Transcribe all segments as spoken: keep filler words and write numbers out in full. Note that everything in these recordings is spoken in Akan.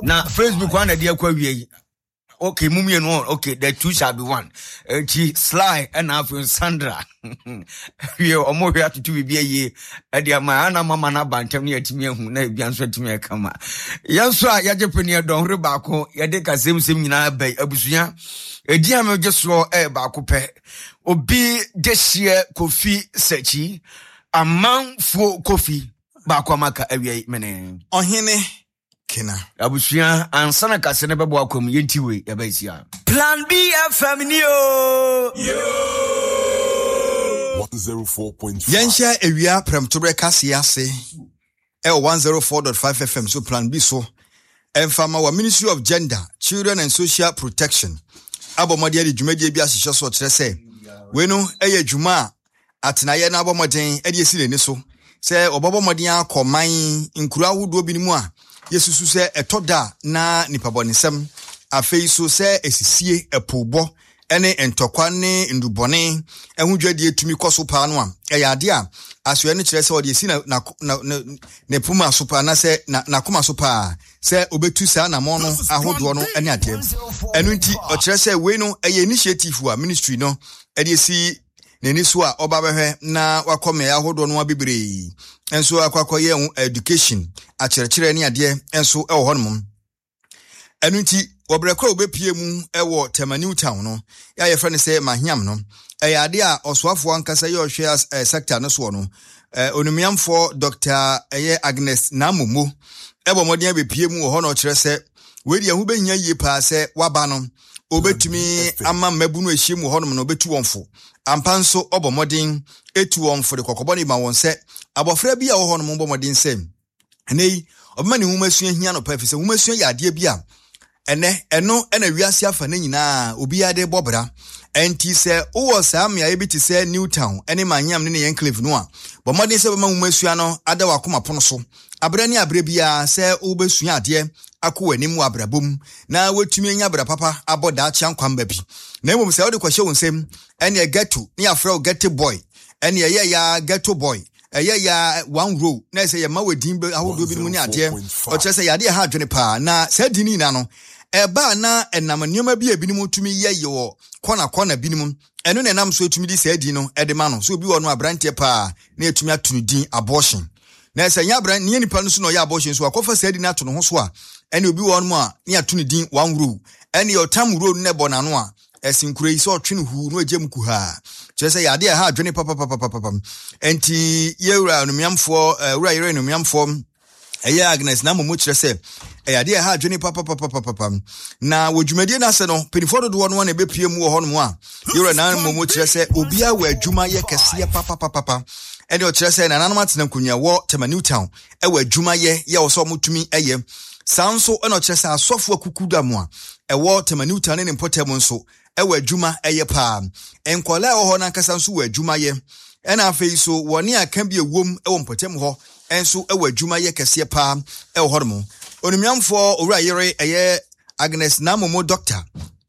Na Facebook ana de akɔ awie yi. Okay, mu mmienu, okay, the two shall be one. Eti Sly ɛna afei Sandra wie, ɔmo hwɛ atoto biribi ayie ɛde ama ana mama no aba ntɛm ne yɛatumi ahu na ebia nso atumi ɛkama. Yɛn nso a yɛagye pɛ ne ɛdɔnhore baako yɛde kasɛmsɛm nyinaa bɛyi abusua ɛdi a megye soɔ ɛyɛ baako pɛ, obi gye hyeɛ Kofi Sɛkyi amanfoɔ Kofi baako amaka awia yi mene Ɔhene Kena. Abusua, ansa na kase no bɛbɔ akɔ mu, yɛnti wei yɛbɛsia Plan B F M ni o. one oh four point five. Yɛnhyɛ ewia prɛmtoberɛ kaseɛ ase ɛwɔ one oh four point five F M so, Plan B so. Ɛmfa ma wɔ Ministry of Gender, Children and Social Protection abɔ mmɔden de dwumadie bi ahyehyɛ so. Ɔkyerɛ sɛ wei no ɛyɛ dwuma a atenaeɛ no abɔ mmɔden de asi n'ani so sɛ ɔbɛbɔ mmɔden akɔ man nkuro ahodoɔ bi no mu a yɛsusu sɛ ɛtɔ da a na nipa bɔnesɛm, afei so sɛ esisie, ɛpobɔ ne ntɔkwa ne ndubɔne ɛho dwadie tumi kɔ so paa no a, ɛyɛ ade a asoɛ no kyerɛ sɛ ɔde esi na na na ne ne poma so paa anaasɛ na n'akoma so paa sɛ obetu saa anamɔ no ahodoɔ no ne adeɛ. Ɛno nti ɔkyerɛ sɛ wei no ɛyɛ initiative a ministry no ɛde esi n'ani so a ɔba bɛhwɛ na wakɔ mmeaeɛ ahodoɔ no bebree nso akɔ akɔyɛ ho education, akyerɛkyerɛ ne adeɛ nso ɛwɔ hɔnom. Ɛno nti wɔbrɛ kɔ a wɔbɛpie mu ɛwɔ Tema New Town no yɛ a yɛfrɛ no sɛ Mahiam no, ɛyɛ ade a ɔsoafoɔ ankasa yɛ ɔhwɛ ɛ sector no soɔ no, ɛ onimiamfoɔ Doctor ɛyɛ Agnes Namomo ɛbɔ mmɔden abɛpie mu wɔ hɔ, na ɔkyerɛ sɛ wei deɛ ɛho bɛhia yie paa sɛ waba no obɛtumi ama mmabunu ahyia mu wɔ hɔnom no obɛtu wɔn fo ampa. Nso ɔbɔ mmɔden etu wɔn fo de kɔkɔbɔ no ma wɔn sɛ abɔfra bi a ɔwɔ hɔnom bɔ mmɔden sɛ ɛnɛ yi ɔbɛma ne nwoma sua hia no pa, ɛfiri sɛ nwoma sua yɛ adeɛ bi a ɛnɛ ɛno ɛna wiase afa ne nyinaa obiara de bɔ bra. Ɛnti sɛ wowɔ saa mmeaeɛ bi te sɛ New Town ɛne Manyam ne ne enclave no a, bɔ mmɔden sɛ bɛma nwoma sua no ada w'akoma pono so aberɛ ne aberɛ biara sɛ wobɛsua adeɛ akɔ w'anim wɔ abrabɔ mu na woatumi anya bra papa abɔ daakye ankwamba bi. Na mmom sɛ wode kɔhyɛ wo nsam, ɛne ghetto ne yɛafrɛ wo ghetto boy, ɛne ɛyɛ ya ghetto boy, ɛyɛ ya one row na ɛsɛ yɛma wɔ din ahodoɔ bi mu ne adeɛ, ɔkyerɛ sɛ yɛadeɛ ha adwene paa. Na saa din no nyinaa no ɛbaa na ɛnam nneɛma bi a ebinom tumi yɛ yɛ wɔ kɔna kɔna binom, ɛno na ɛnam so etumi de saa din no ɛde ma no. So obi wɔ no aberanteɛ paa na etumi ato no din abortion, na ɛsɛ nyɛ abran nyɛ nipa no so na ɔyɛ abortion so akɔfa saa din no ato ne ho so a, ɛne obi wɔ no a ne ato no din one row, ɛne ɔtam row no na ɛbɔ n'ano a ɛsi nkuro yi sɛ ɔtwe no huu na ɔgye mu kuhaa, kyerɛ sɛ yɛade ɛha adwene papapapapam. Nti yɛwura anumiamfoɔ, ɛwura yɛrɛ anumiamfoɔ ɛyɛ Agnes na mmom kyerɛ sɛ ɛyɛ adeɛ ɛha adwene papapapapam. Na wɔ dwumadie no ase no, mpanimfoɔ dodoɔ no na ɛbɛpie mu wɔ hɔnom a yɛwura na mmom kyerɛ sɛ obiara wɔ adwuma yɛ kɛseɛ papapapapa. Ɛne ɔkyerɛ sɛ nananom atena nkonnwa wɔ Tema New Town ɛwɔ adwuma yɛ yɛ wɔ sɛ ɔmotumi ɛyɛ saa nso. Ɛna ɔkyerɛ sɛ asɔfo akuku da mu a ɛwɔ Tema New Town ne ne mpɔtam nso ɛwɔ adwuma ɛyɛ paa. Nkɔla ɛwɔ hɔ n'ankasa nso wɔ adwuma yɛ, ɛna afei so wɔne aka bi ewom ɛwɔ mpɔtam hɔ nso ɛwɔ adwuma yɛ kɛseɛ paa ɛwɔ hɔnom. Onimiamfoɔ Owura Yere ɛyɛ Agnes Namomo doctor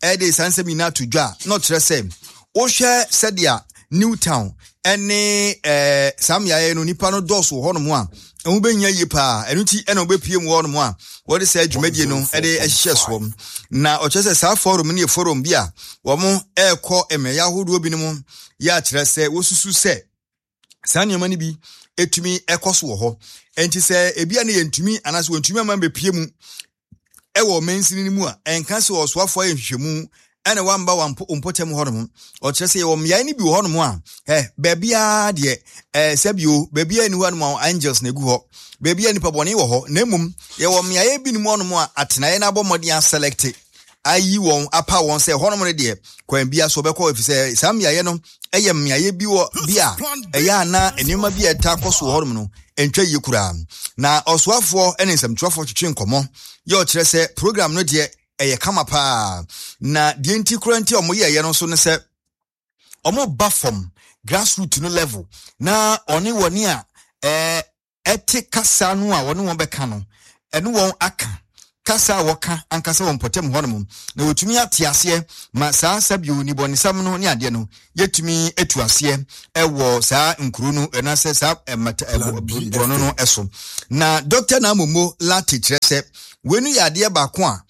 ɛde saa nsɛm nyinaa to dwa na ɔkyerɛ sɛ wohwɛ sɛdeɛ New Town ɛne ɛɛ saa mmeaeɛ no nipa no dɔɔso wɔ hɔnom a, ɛho bɛnya yie paa. Ɛno nti ɛna wɔbɛpie mu wɔ hɔnom a wɔde saa dwumadie no ɛde ɛhyehyɛ soɔ. Na ɔkyerɛ sɛ saa forum no yɛ forum bi a wɔn ɛrekɔ mmeaeɛ ahodoɔ binom yɛ akyerɛ sɛ wɔsusu sɛ saa nneɛma no bi etumi ɛkɔ so wɔ hɔ. Nti sɛ ebi a ne yɛntumi anaasɛ wɔntumi ama bɛpie mu ɛwɔ mansini no mu a, ɛnka sɛ ɔsoafoɔ ayɛ nhwehwɛmu ɛna wamba wɔ mpɔtam hɔnom. Ɔkyerɛ sɛ yɛwɔ mmeaeɛ no bi wɔ hɔnom a ɛ baabiara deɛ ɛɛ sɛbio baabiara ni hɔnom a angels na egu hɔ, baabiara nipa bɔne wɔ hɔ, na mmom yɛwɔ mmeaeɛ bi nom hɔnom a atenaeɛ no abɔ mmɔden aselect ayi wɔn apa wɔn sɛ hɔnom no deɛ kwan bia so ɔbɛkɔ, ɛfiri sɛ saa mmeaeɛ no ɛyɛ mmeaeɛ bi wɔ bi a ɛyɛ ana nneɛma bi a ɛta kɔ so wɔ hɔnom no ntwa yie koraa. Na ɔsoafoɔ ne nsɛmtwerɛfoɔ twetwe nkɔmmɔ yɛ ɔkyerɛ sɛ program no deɛ ɛyɛ kama paa, na deɛ nti koraa nti a ɔmo yɛɛyɛ no nso ne sɛ ɔmo ba fam grassroot no level na ɔne wɔne a ɛɛ ɛte kasa no a wɔne wɔn bɛka no ɛne wɔn aka. Kasa a wɔka ankasa wɔ mpɔtam hɔnom na wɔtumi ate aseɛ ma saa sɛbio nibɔnesɛm no ne adeɛ no yɛtumi atu aseɛ ɛwɔ saa nkuro no ɛnaasɛ saa ɛmata borɔno no ɛso. Na Doctor Namomo Lati kyerɛ sɛ wei no yɛ adeɛ baako a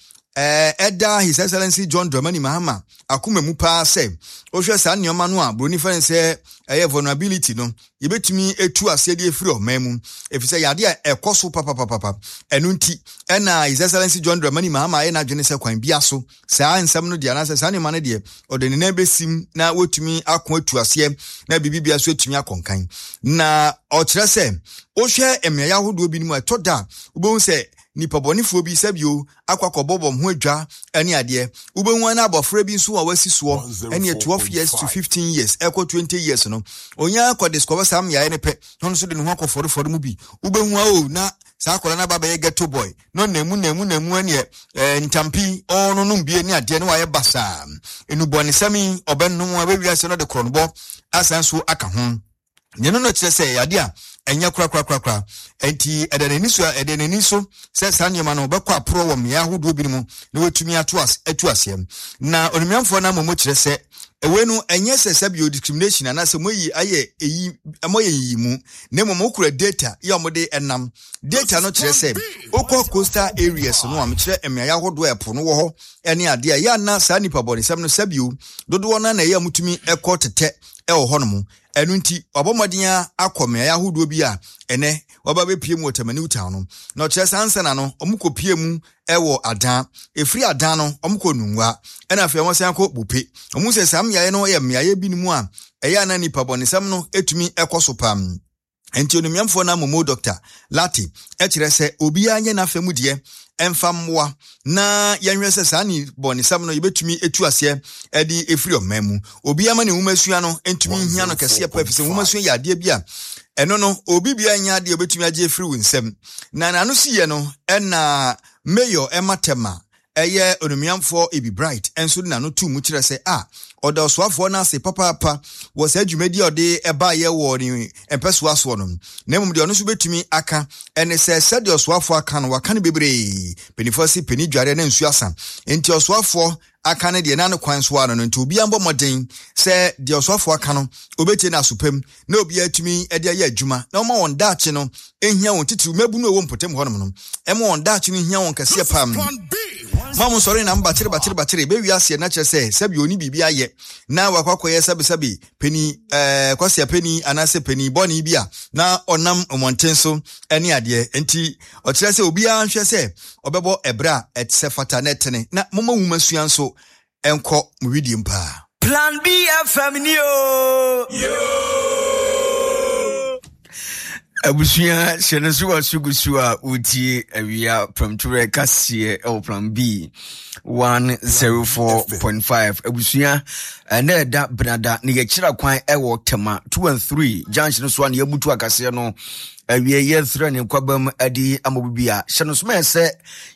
ɛda His Excellency John Dramani Mahama akoma mu paa sɛ wohwɛ saa nneɛma no a buroni fɛn sɛ ɛyɛ vulnerability no yɛbɛtumi etu aseɛ de efiri ɔman mu efisɛ yadeɛ a ɛkɔ so papapapapa. Ɛno nti ɛna His Excellency John Dramani Mahama ayɛ n'adwene sɛ kwan bia so saa nsɛm no deɛ anaasɛ saa nneɛma no deɛ ɔde ne nan bɛsim na wɔtumi ako atu aseɛ na biribi bia so atumi akɔnkan. Na ɔkyerɛ sɛ wohwɛ mmeaeɛ ahodoɔ bi no mu a ɛtɔ da a wobɛhu sɛ nipa bɔnefoɔ bi sɛbio akɔ akɔbɔbɔ ho adwa ne adeɛ. Wobɛhu ana abɔfra bi nso a wasi soɔ ɛne twelve years to fifteen years ɛkɔ twenty years no onya akɔ discover saa mmeaeɛ no pɛ na ɔno nso de ne ho akɔfɔrefɔre mu bi. Wobɛhu a o na saa akɔla no aba bɛyɛ ghetto boy na ɔnamu namu namu ɛneɛ ntampi ɔno nom bie ne adeɛ ne wayɛ basaa. Enubɔnesɛm yi ɔbɛnom a bɛwiase no de korɔnobɔ asan so aka ho. Nea no no kyerɛ sɛ yade a ɛnyɛ korakorakorakora. Enti ɛda n'ani so ɛda n'ani so sɛ saa nneɛma no bɛkɔ aporɔ wɔ mmea ahodoɔ bi mu na wɔatumi ato ase atu aseɛ. Na onimnyamfoɔ no amom kyerɛ sɛ ɛwei no ɛnyɛ sɛ sɛbio discrimination anaasɛ moyi ayɛ eyi moyɛ yiyi mu na mmom wokura data yɛ a wɔde ɛnam. Data no kyerɛ sɛ wokɔ coastal areas no a mekyerɛ mmeaeɛ ahodoɔ a ɛpo no wɔ hɔ ɛne adeɛ a yɛ ana saa nnipa bɔnesɛm no sɛbio dodoɔ no na ɛyɛ a mutumi ɛkɔ tetɛ ɛwɔ hɔnom. Ɛno nti wabɔ mmɔden akɔ mmeaeɛ ahodoɔ bi a ɛnɛ waba bɛpie mu wɔ Tema New Town no. Na ɔkyerɛ saa nsa na no ɔmo kɔ pie mu ɛwɔ Adan. Ɛfiri Adan no ɔmo kɔ Nungua ɛna afei ɔmo san kɔ Bupe. Ɔmo sɛ saa mmeaeɛ no yɛ mmeaeɛ bi no mu a ɛyɛ ana nipa bɔnesɛm no etumi ɛkɔ so pam. Enti onimnyamfoɔ no amomo Doctor Lati ɛkyerɛ sɛ obiara nyɛ n'afɛ mu deɛ ɛmfa mmoa na yɛnhwɛ sɛ saa ni bɔnesɛm no yɛbɛtumi etu aseɛ ɛde efiri ɔman mu. Obiara ma ne nwomasua no ntumi nhia no kɛseɛ paa efisɛ nwomasua yɛ adeɛ bi a ɛno no obi bia nyɛ adeɛ obɛtumi agye efiri wo nsam. Na n'ano si yɛ no ɛna Mayor Emma Tema ɛyɛ onimnyamfoɔ Ebi Bright ɛnso de n'ano tu mu kyerɛ sɛ a ɔda ɔsoafoɔ no ase papaapa wɔ saa dwumadi a ɔde ɛbaeɛ wɔ ne mpɛsoa soɔ no. Na mmom deɛ ɔno nso bɛtumi aka ɛne sɛ sɛdeɛ ɔsoafoɔ aka no waka no bebree. Mpanimfoɔ se panin dware na nsuo asa. Nti ɔsoafoɔ aka no deɛ n'ano kwan so ano no nti obiara mbɔ mmɔden sɛ deɛ ɔsoafoɔ aka no obɛtie no asopam na obiara tumi de ayɛ adwuma na ɔma wɔn daakye no ehia wɔn titiriw mmabunu a ɛwɔ mpɔtam hɔnom no ɛma wɔn daakye no hia wɔn kɛseɛ pam. Ma mo sɔre na mbakyere bakyere bakyere bɛwi aseɛ na kyerɛ sɛ sɛbi oni biribi ayɛ na wakɔ akɔyɛ sɛbisɛbi pani ɛɛ kɔsia pani anaasɛ pani bɔne bi a na ɔnam mmɔnten so ɛne adeɛ. Nti ɔkyerɛ sɛ obiara nhwɛ sɛ ɔbɛbɔ ɛbrɛ a ɛsɛ fata na ɛtene na moma nwoma sua nso ɛnkɔ mo widie paa. Plan B F M ni o. Abusua hyɛ no so wɔ sugusu a wotie awia prɛmtoberɛ kaseɛ ɛwɔ Plan B one zero four point five. Abusua ɛnɛ ɛda benada ne yɛkyerɛ kwan ɛwɔ Tema two and three junction so a ne yɛbutu akaseɛ no awie yɛfrɛ ne nkwabam adi ama obi a hyɛ no so ma sɛ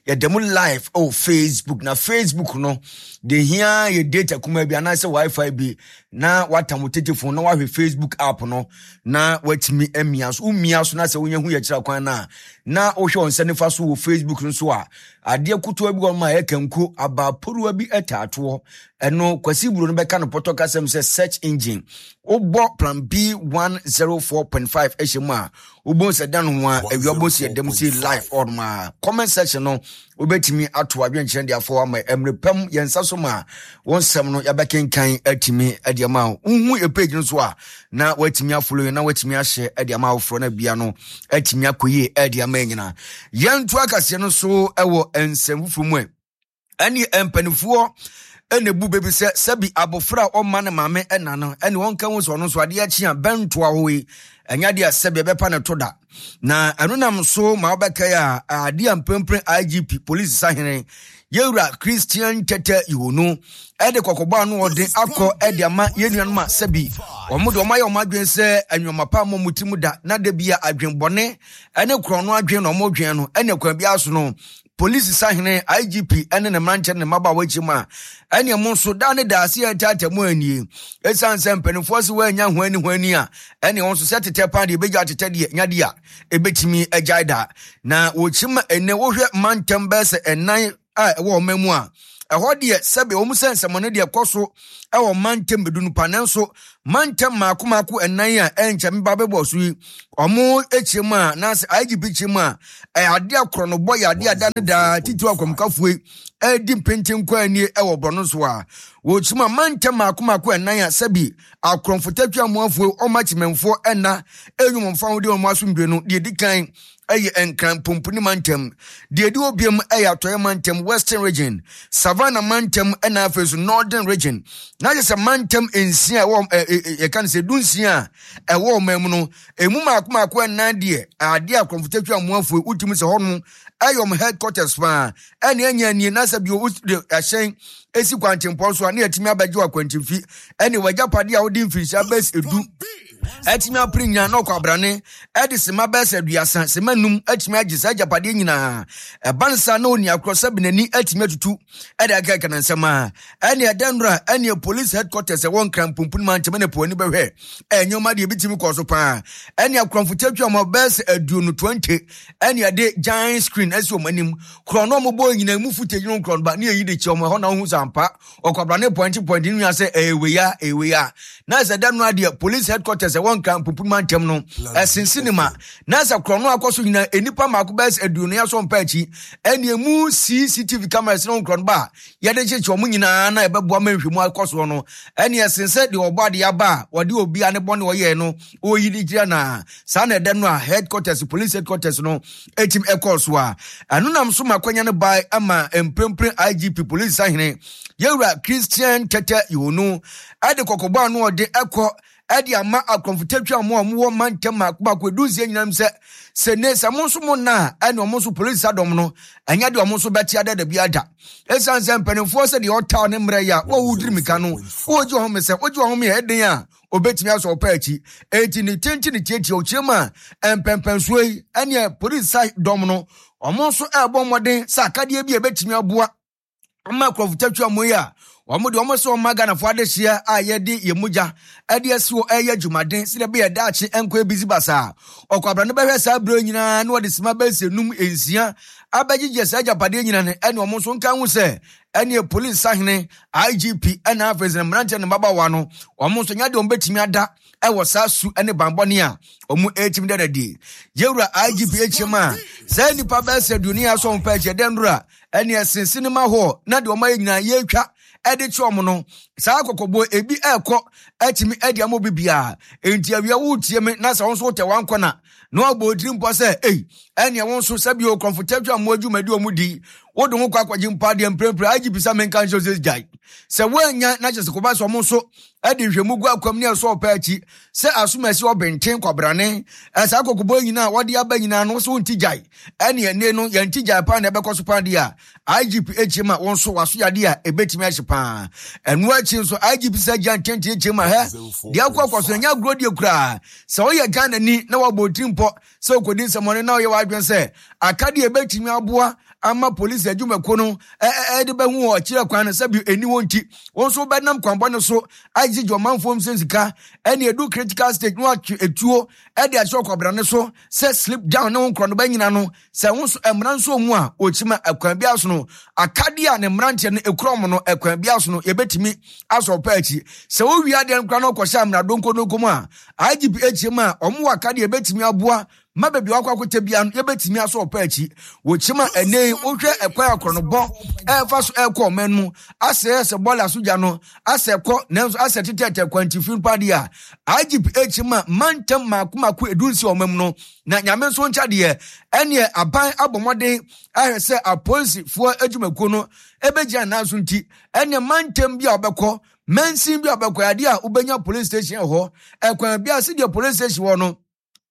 yɛda mu live ɛwɔ Facebook. Na Facebook no de hia yɛ data kuma bi anaasɛ wifi bi na watam wo telephone na wahwɛ Facebook app no na watumi amia so. Womia so na sɛ wonya hu yɛkyerɛ kwan no a na wohwɛ wo nsa nifa so wɔ Facebook no so a adeɛ kotoa bi wɔ ma ɛyɛ kanko aba poruwa bi ɛtaatoɔ ɛno Kwasi Buro no bɛka no pɔtɔ kasɛm sɛ search engine wobɔ Plan B one zero four point five ɛhyɛ mu a wobɔ sɛ dan ho a awia wobɔ sɛ yɛdam sɛ live on ma comment section no wobɛtumi ato adwenkyerɛ de afɔ ama mmerɛ pam yɛn nsa so ma wɔn nsɛm no yɛbɛkenkan atumi de ama wo. Wohu yɛ page no so a na woatumi afollow na woatumi ahyɛ de ama awoforɔ no bia no atumi akɔ yie de ama nyinaa. Yɛnto akaseɛ no so ɛwɔ nsɛm foforɔ mu ɛ. Ɛne mpanimfoɔ ɛna ebu bebi sɛ sɛbi abɔfra a ɔma ne maame ɛna no ɛne wɔn ka ho sɛ ɔno nso adeɛ akyi a bɛntoa hɔ yi ɛnyɛ adeɛ a sɛbi ɛbɛpa ne to da. Na ɛno nam so ma wɔbɛka yi a adeɛ a mprempren I G P polisi sahene yɛwura Christian Tete Yohuno ɛde kɔkɔbɔ ano ɔde akɔ ɛde ama yɛn nuanom a sɛbi wɔn de wɔn ayɛ wɔn adwene sɛ nneɛma pa a wɔn ti mu da na de bi a adwenbɔne ɛne korɔno adwene na wɔn dwen no ɛne kwan bi aso no Polisi sahene I G P ɛne ne mmeranteɛ ne mmabaawa akyi mu a ɛne mo nso da ne da ase ɛtaataa mu anie ɛsiane sɛ mpanimfoɔ se wɔanya ho ani ho ani a ɛne wɔn nso sɛ tetɛ paa deɛ ɛbɛgya tetɛ deɛ nyadeɛ a ɛbɛtumi agyae da na wɔkyi ma ɛnɛ wohwɛ mantam bɛyɛ sɛ ɛnan a ɛwɔ ɔman mu a ɛhɔ deɛ sɛbe wɔn sɛ nsɛmɔne deɛ kɔ so ɛwɔ mantam edu no pa nanso mantam mako mako ɛnan a ɛnkyɛ meba bɛbɔ so yi ɔmo akyire mu a na I G P kyerɛ mu a ɛyɛ adeɛ akorɔ no bɔ yɛ adeɛ ada ne daa titiri akɔmkafoɔ yi ɛdi mpenten kɔ ani ɛwɔ borɔno so a wɔkyerɛ mu a mantam mako mako ɛnan a sɛbi akorɔmfotatwa amoafoɔ ɔmo akyimɛnfoɔ ɛna enwom mfa ho de ɔmo asomdwe no deɛ di kan ɛyɛ Nkran Pomponi mantam deɛ di obiam ɛyɛ Atɔeɛ mantam Western Region, Savannah mantam ɛna afei so Northern Region na kyerɛ sɛ mantam nsia ɛwɔ yɛka no sɛ du nsia a ɛwɔ ɔman mu no emu mako mako ɛnan deɛ adeɛ akorɔmfotatwa amoafoɔ wotumi sɛ hɔ no ɛyɛ ɔmo headquarters paa ɛne ɛnyɛ nie na sɛ bio ɛhyɛn esi kwantempɔn so a ne yɛtumi abɛgye akwantimfi ɛne wagyapadeɛ a wode mfirinhyia bɛs edu ɛtumi apere nyinaa na ɔkɔ abrane ɛde sema bɛsɛ aduasa sema num ɛtumi agye saa agyapadeɛ nyinaa ɛba nsa na oni akorɔ sɛ benani ɛtumi atutu ɛde akɛkɛ ne nsɛm a ɛne ɛdɛnora ɛne police headquarters ɛwɔ Nkran Pomponi mantam ne po ani bɛhwɛ ɛnneɛma deɛ ebitumi kɔ so paa ɛne akorɔmfotatwa ɔmo bɛsɛ aduonu twenty ɛne ɛde giant screen ɛsi ɔmo anim korɔ no ɔmo bɔ nyinaa mu footage no korɔ no ba ne yɛyi de kyɛ ɔmo ɛhɔ na ɔho sampa ɔkɔ abrane point point ne nua sɛ ɛwɛya ɛwɛya na sɛ ɛdɛnora deɛ police headquarters ɛwɔ Nkran Pomponi mantam no ɛsen cinema na sɛ korɔ no akɔ so nyinaa enipa mako bɛyɛ aduonu aso mpa akyi ɛne emu C C T V cameras no korɔ no ba yɛde kyekyɛ ɔmo nyinaa na ɛbɛboa ma nhwɛmu akɔ soɔ no ɛne ɛsen sɛ deɛ ɔbɔ adeɛ aba a wɔde obi a ne bɔ ne ɔyɛ no ɔyi de gyina na saa na ɛdɛ no a headquarters police headquarters no etim ɛkɔɔ so a ɛno nam so ma akwanya no bae ama mprempren I G P police sahene yɛwura Christian Tete Yono ɛde kɔkɔbɔ ano ɔde ɛkɔ ɛde ama akorɔmfotatwa mo a mowɔ mantam mako mako edu nsia nyinam sɛ sɛ ne sɛ mo nso mo na ɛne ɔmo nso polisi adɔm no ɛnyɛ deɛ ɔmo nso bɛte ada da bi ada ɛsiane sɛ mpanimfoɔ sɛ deɛ ɔtaa ne mmerɛ yi a wɔwo diri mika no wɔgye wɔn ho sɛ wogye wɔn ho yɛ ɛden a obetumi asɔ ɔpa akyi eti ne tenten ne tietie ɔkyerɛ mu a mpɛmpɛnsoɔ yi ɛne polisi dɔm no ɔmo nso ɛrebɔ mmɔden sɛ akadeɛ bi a ebetumi aboa ama akorɔmfotatwa mo yi a wɔn de wɔn sɛ wɔn Ghanafoɔ adehyia a yɛde yɛn mogya ɛde asi hɔ ɛyɛ dwumaden sɛ ɛbɛyɛ daakye nkɔ ebisi basaa ɔkɔabra no bɛhwɛ saa abere nyinaa na wɔde sima bɛsɛ num nsia abɛgyegye saa agyapadeɛ nyinaa no ɛne wɔn nso nka ho sɛ ɛne polisi sahene I G P ɛna afei sɛ mmeranteɛ ne mmabaawa no wɔn nso nya deɛ wɔn bɛtumi ada ɛwɔ saa su ɛne banbɔne a wɔn ɛtumi dada die yɛwura I G P akyerɛ mu a saa nnipa bɛsɛ aduonu aso wɔn pɛ akyerɛ dɛn nora ɛne ɛsen cinema hall na deɛ wɔn ayɛ nyinaa yɛretwa ɛde kyerɛ wɔn no saa kɔkɔbɔ ebi ɛrekɔ ɛtumi ɛde ama obi biara enti awia wotie me na sɛ wɔn nso wotɛ wɔn akɔ na na wɔabɔ otiri mpɔ sɛ ei ɛnea wɔn nso sɛbi okrɔmfotatwa mo adwumadi wɔn di wode ho kɔ akɔgye mpa deɛ mprempren I G P sɛ menka nhyɛ sɛ gyae sɛ woanya na kyerɛ sɛ kɔba sɛ ɔmo nso ɛde nhwɛmu gu akwam ne ɛsɔ ɔpɛ akyi sɛ asomasi ɔbɛnten kwabrane ɛsaa kɔkɔbɔ nyinaa wɔde aba nyinaa no so wonti gyae ɛne ɛne no yɛnti gyae paa na ɛbɛkɔ so paa deɛ a I G P akyi ma wɔn nso waso yadeɛ a ɛbɛtumi ahye paa ɛno akyi nso I G P sɛ gya ntɛntɛn akyi ma hɛ deɛ akɔ akɔ so ɛnyɛ agorɔ deɛ koraa sɛ woyɛ Ghanani na wɔabɔ otiri mpɔ sɛ wokɔdi nsɛmmɔne na woyɛ w'adwene sɛ akadeɛ ɛbɛtumi aboa ama polisi adwumakuo no ɛde bɛhu wɔ akyirɛ kwan no sɛbi ɛni wɔn nti wɔn nso bɛnam kwanbɔne so agyegye ɔmanfoɔ nsɛm sika ɛne edu critical stage no atwe etuo ɛde akyerɛ ɔkwabrane so sɛ slip down ne wɔn nkorɔ no bɛnyina no sɛ wɔn nso mmara nso mu a wɔkyima ɛkwan bi aso no akadeɛ a ne mmeranteɛ no ekura wɔn no ɛkwan bi aso no yɛbɛtumi asɔ ɔpɛ akyi sɛ wɔwie adeɛ no kora no kɔhyɛ amena donkodonko mu a I G P akyi mu a wɔn wɔ akadeɛ yɛbɛtumi aboa ma baabi wakɔ akɔtɛ bia no yɛbɛtumi asɔ ɔpɛ akyi wɔkyima ɛnɛ wohwɛ ɛkwan akorɔnobɔ ɛfa so ɛkɔ ɔman mu asɛ sɛ bɔɔla so gya no asɛ kɔ nanso asɛ tetɛtɛ kwantifi mpadeɛ a I G P akyi ma mantam mako mako edu nsi ɔman mu no na nyame nso nkyɛ deɛ ɛneɛ aban abɔ mmɔden ahwɛ sɛ apolisifoɔ adwumakuo no ɛbɛgyina nan so nti ɛneɛ mantam bi a wɔbɛkɔ mansin bi a wɔbɛkɔ adeɛ a wobɛnya police station hɔ ɛkwan bi a sɛdeɛ police station wɔ no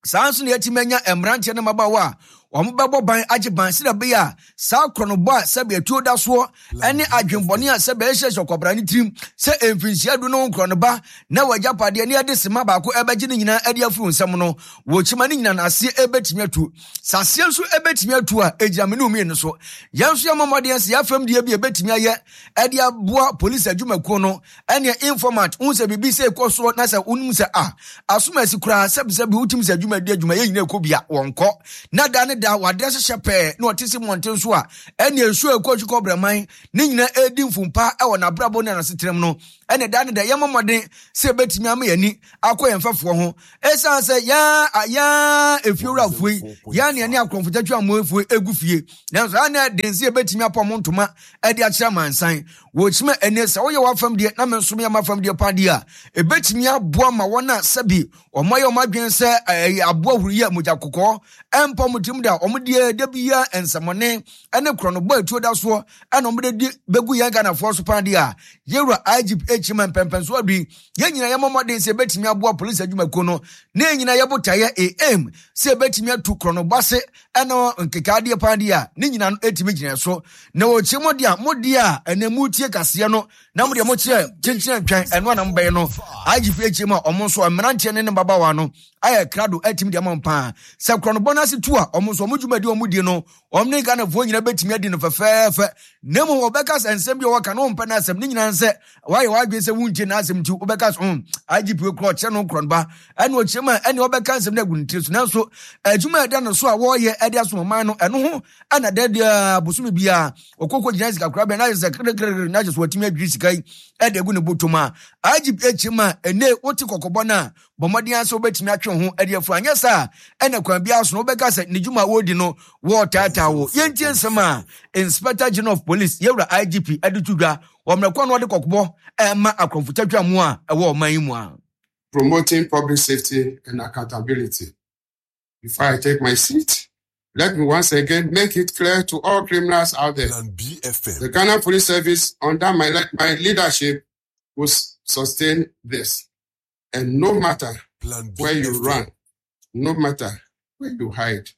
saa nso na yɛtumi anya mmeranteɛ ne mmabaawa a Wɔn bɛbɔ ban agye ban sɛdeɛ ɛbɛyɛ a saa korɔnobɔ a sɛbi atuo da soɔ ɛne adwembɔne a sɛbi ɛhyehyɛ ɔkwabra ne tirim sɛ mfinhyia du no korɔnoba na wagyapadeɛ ne ɛde sema baako ɛbɛgye ne nyinaa ɛde afiri nsɛm no wɔkyima ne nyinaa n'aseɛ ɛbɛtumi atu. Saseɛ nso ɛbɛtumi atu a ɛgyina me ne mmienu so. Yɛn nso yɛmmɔ mmɔden sɛ yɛafam deɛ bi ɛbɛtumi ayɛ ɛde aboa polisi adwumakuo no ɛne informant wohu sɛ biribi sɛ ɛkɔ soɔ na sɛ wonim sɛ a asom asi koraa sɛbisɛbi wotim sɛ adwuma di adwuma yɛ nyina ɛkɔ bia wɔnkɔ na da ne da wadeɛ hyehyɛ pɛɛ na ɔte se mmɔnten so a ɛne nsuo ɛkɔ akyi kɔ brɛman ne nyina ɛdi mfumpa ɛwɔ n'abrabɔ ne n'asetenam no ɛne da ne da yɛmmɔ mmɔden sɛ ɛbɛtumi ama yɛni akɔ yɛn mfɛfoɔ ho ɛsiane sɛ yɛn yɛn efiewurafoɔ yi yɛn ne yɛne akorɔmfotatwi amoefoɔ egu fie nanso yɛn na den sɛ yɛbɛtumi apɔ mo ntoma ɛde akyerɛ amansan wɔkyima ɛne sɛ woyɛ w'afam deɛ na me nso meyɛ m'afam deɛ pa deɛ a ɛbɛtumi aboa ma wɔn a sɛbi wɔn ayɛ wɔn adwene sɛ ɛyɛ aboa huru yɛ mogya kɔkɔɔ ɛmpa wɔn tirim da wɔn deɛ da biara nsɛmɔne ɛne korɔnobɔ atuo da soɔ ɛna wɔn de di bɛgu yɛn Ghanafoɔ so pa deɛ a yɛwura I G P ekyima mpɛmpɛnso adui yɛn nyinaa yɛmmɔ mmɔden sɛ ɛbɛtumi aboa polisi adwumakuo no ne yɛn nyinaa yɛbɔ taeɛ aim sɛ ɛbɛtumi atu korɔnobɔ ase ɛna nkekaadeɛ pa deɛ a ne nyinaa no ɛtumi gyina so na wɔkyerɛ mu deɛ a mo deɛ a ɛnɛ mu tie kaseɛ no na mo deɛ mo kyerɛ kyenkyene ntwɛn ɛno anam bɛyɛ no I G P ekyima ɔmo nso mmeranteɛ ne ne mmabaawa no ayɛ krado ɛtumi deɛ ama paa sɛ korɔnobɔ no ase tu a ɔmo nso ɔmo dwumadi ɔmo di no ɔmo ne Ghanafoɔ nyinaa bɛtumi adi no fɛfɛɛfɛ na mmom wɔbɛka sɛ nsɛm bi a wɔka no wɔmpɛ n'asɛm ne nyinaa sɛ wayɛ w'adwene sɛ wontie n'asɛm nti wobɛka sɛ mm I G P korɔ ɔkyerɛ no korɔnoba ɛne ɔkyerɛ mu a ɛne ɔbɛka nsɛm no agu ne tiri so nanso adwuma a ɛda no so a wɔreyɛ ɛde asom ɔman no ɛno ho ɛna da deɛ bosome biara ɔkɔkɔ gyina sika korabea na ayɛ sɛ krekrekre na ayɛ sɛ watumi adwiri sika yi ɛde agu ne bɔtɔ mu a I G P akyerɛ mu a ɛnɛ wote kɔkɔbɔ no a bɔ mmɔden sɛ wobɛtumi atwe ho ɛde afuru anyɛ saa ɛna kwan biara so no wobɛka sɛ ne dwuma a wɔredi no wɔretaataa wo. Yɛntie nsɛm a Inspector General of Police yɛwura I G P ɛde to dwa wɔ mmerɛ kwan no wɔde kɔkɔbɔ ɛma akorɔmfotatwa mu a ɛwɔ ɔman yi mu a. Promoting public safety and accountability. Before I take my seat, let me once again make it clear to all criminals out there. Plan B F M. The Ghana Police Service, under my, my leadership, will sustain this. And no matter Plan B where you F M. run, no matter where you hide,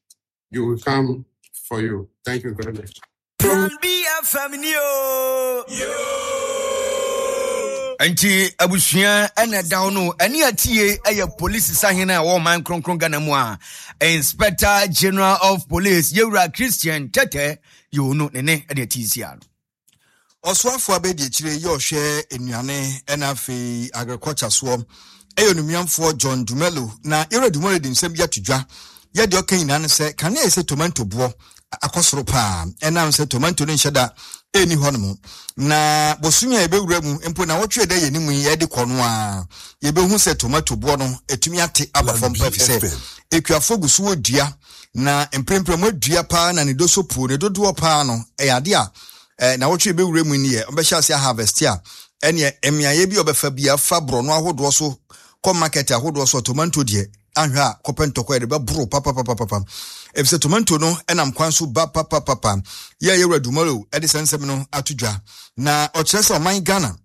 you will come for you. Thank you very much. Plan B F M ni o. Enti abusua ene down no ene atie eye police sahene a wo man kronkron Ghana mu a Inspector General of Police Yewura Christian Tete yono ne ne ene atisia no. Oswafo abedi ekyire ye ohwe enuane ena afei agriculture so eyo numiamfo John Dumelo na Yewura Dumelo di nsem bi atodwa ye de okan nyina ne se kan ye se tomato bo akosoro pa ena se tomato ne nheda eni hono na bosumi a ebewura mu mpo na wotwe da ye nimu ye de kono a ye behu se tomato bo no etumi ate aba fam pa se ekuafo gusu odua na mprempre mu adua pa na ne doso puo ne dodoɔ pa no e ade a na wotwe ebewura mu ni ye obehye ase harvest a ene emiaye bi obefa bia fa bro no ahodoɔ so kɔ market ahodoɔ so tomato de ahwa a kɔpɛ ntɔkwa de bɛboro papa papa papa efisɛ tomato no enam kwan so ba papa papa ye Yewura Dumelo e de sensem no atodwa na ɔkyerɛ sɛ ɔman Ghana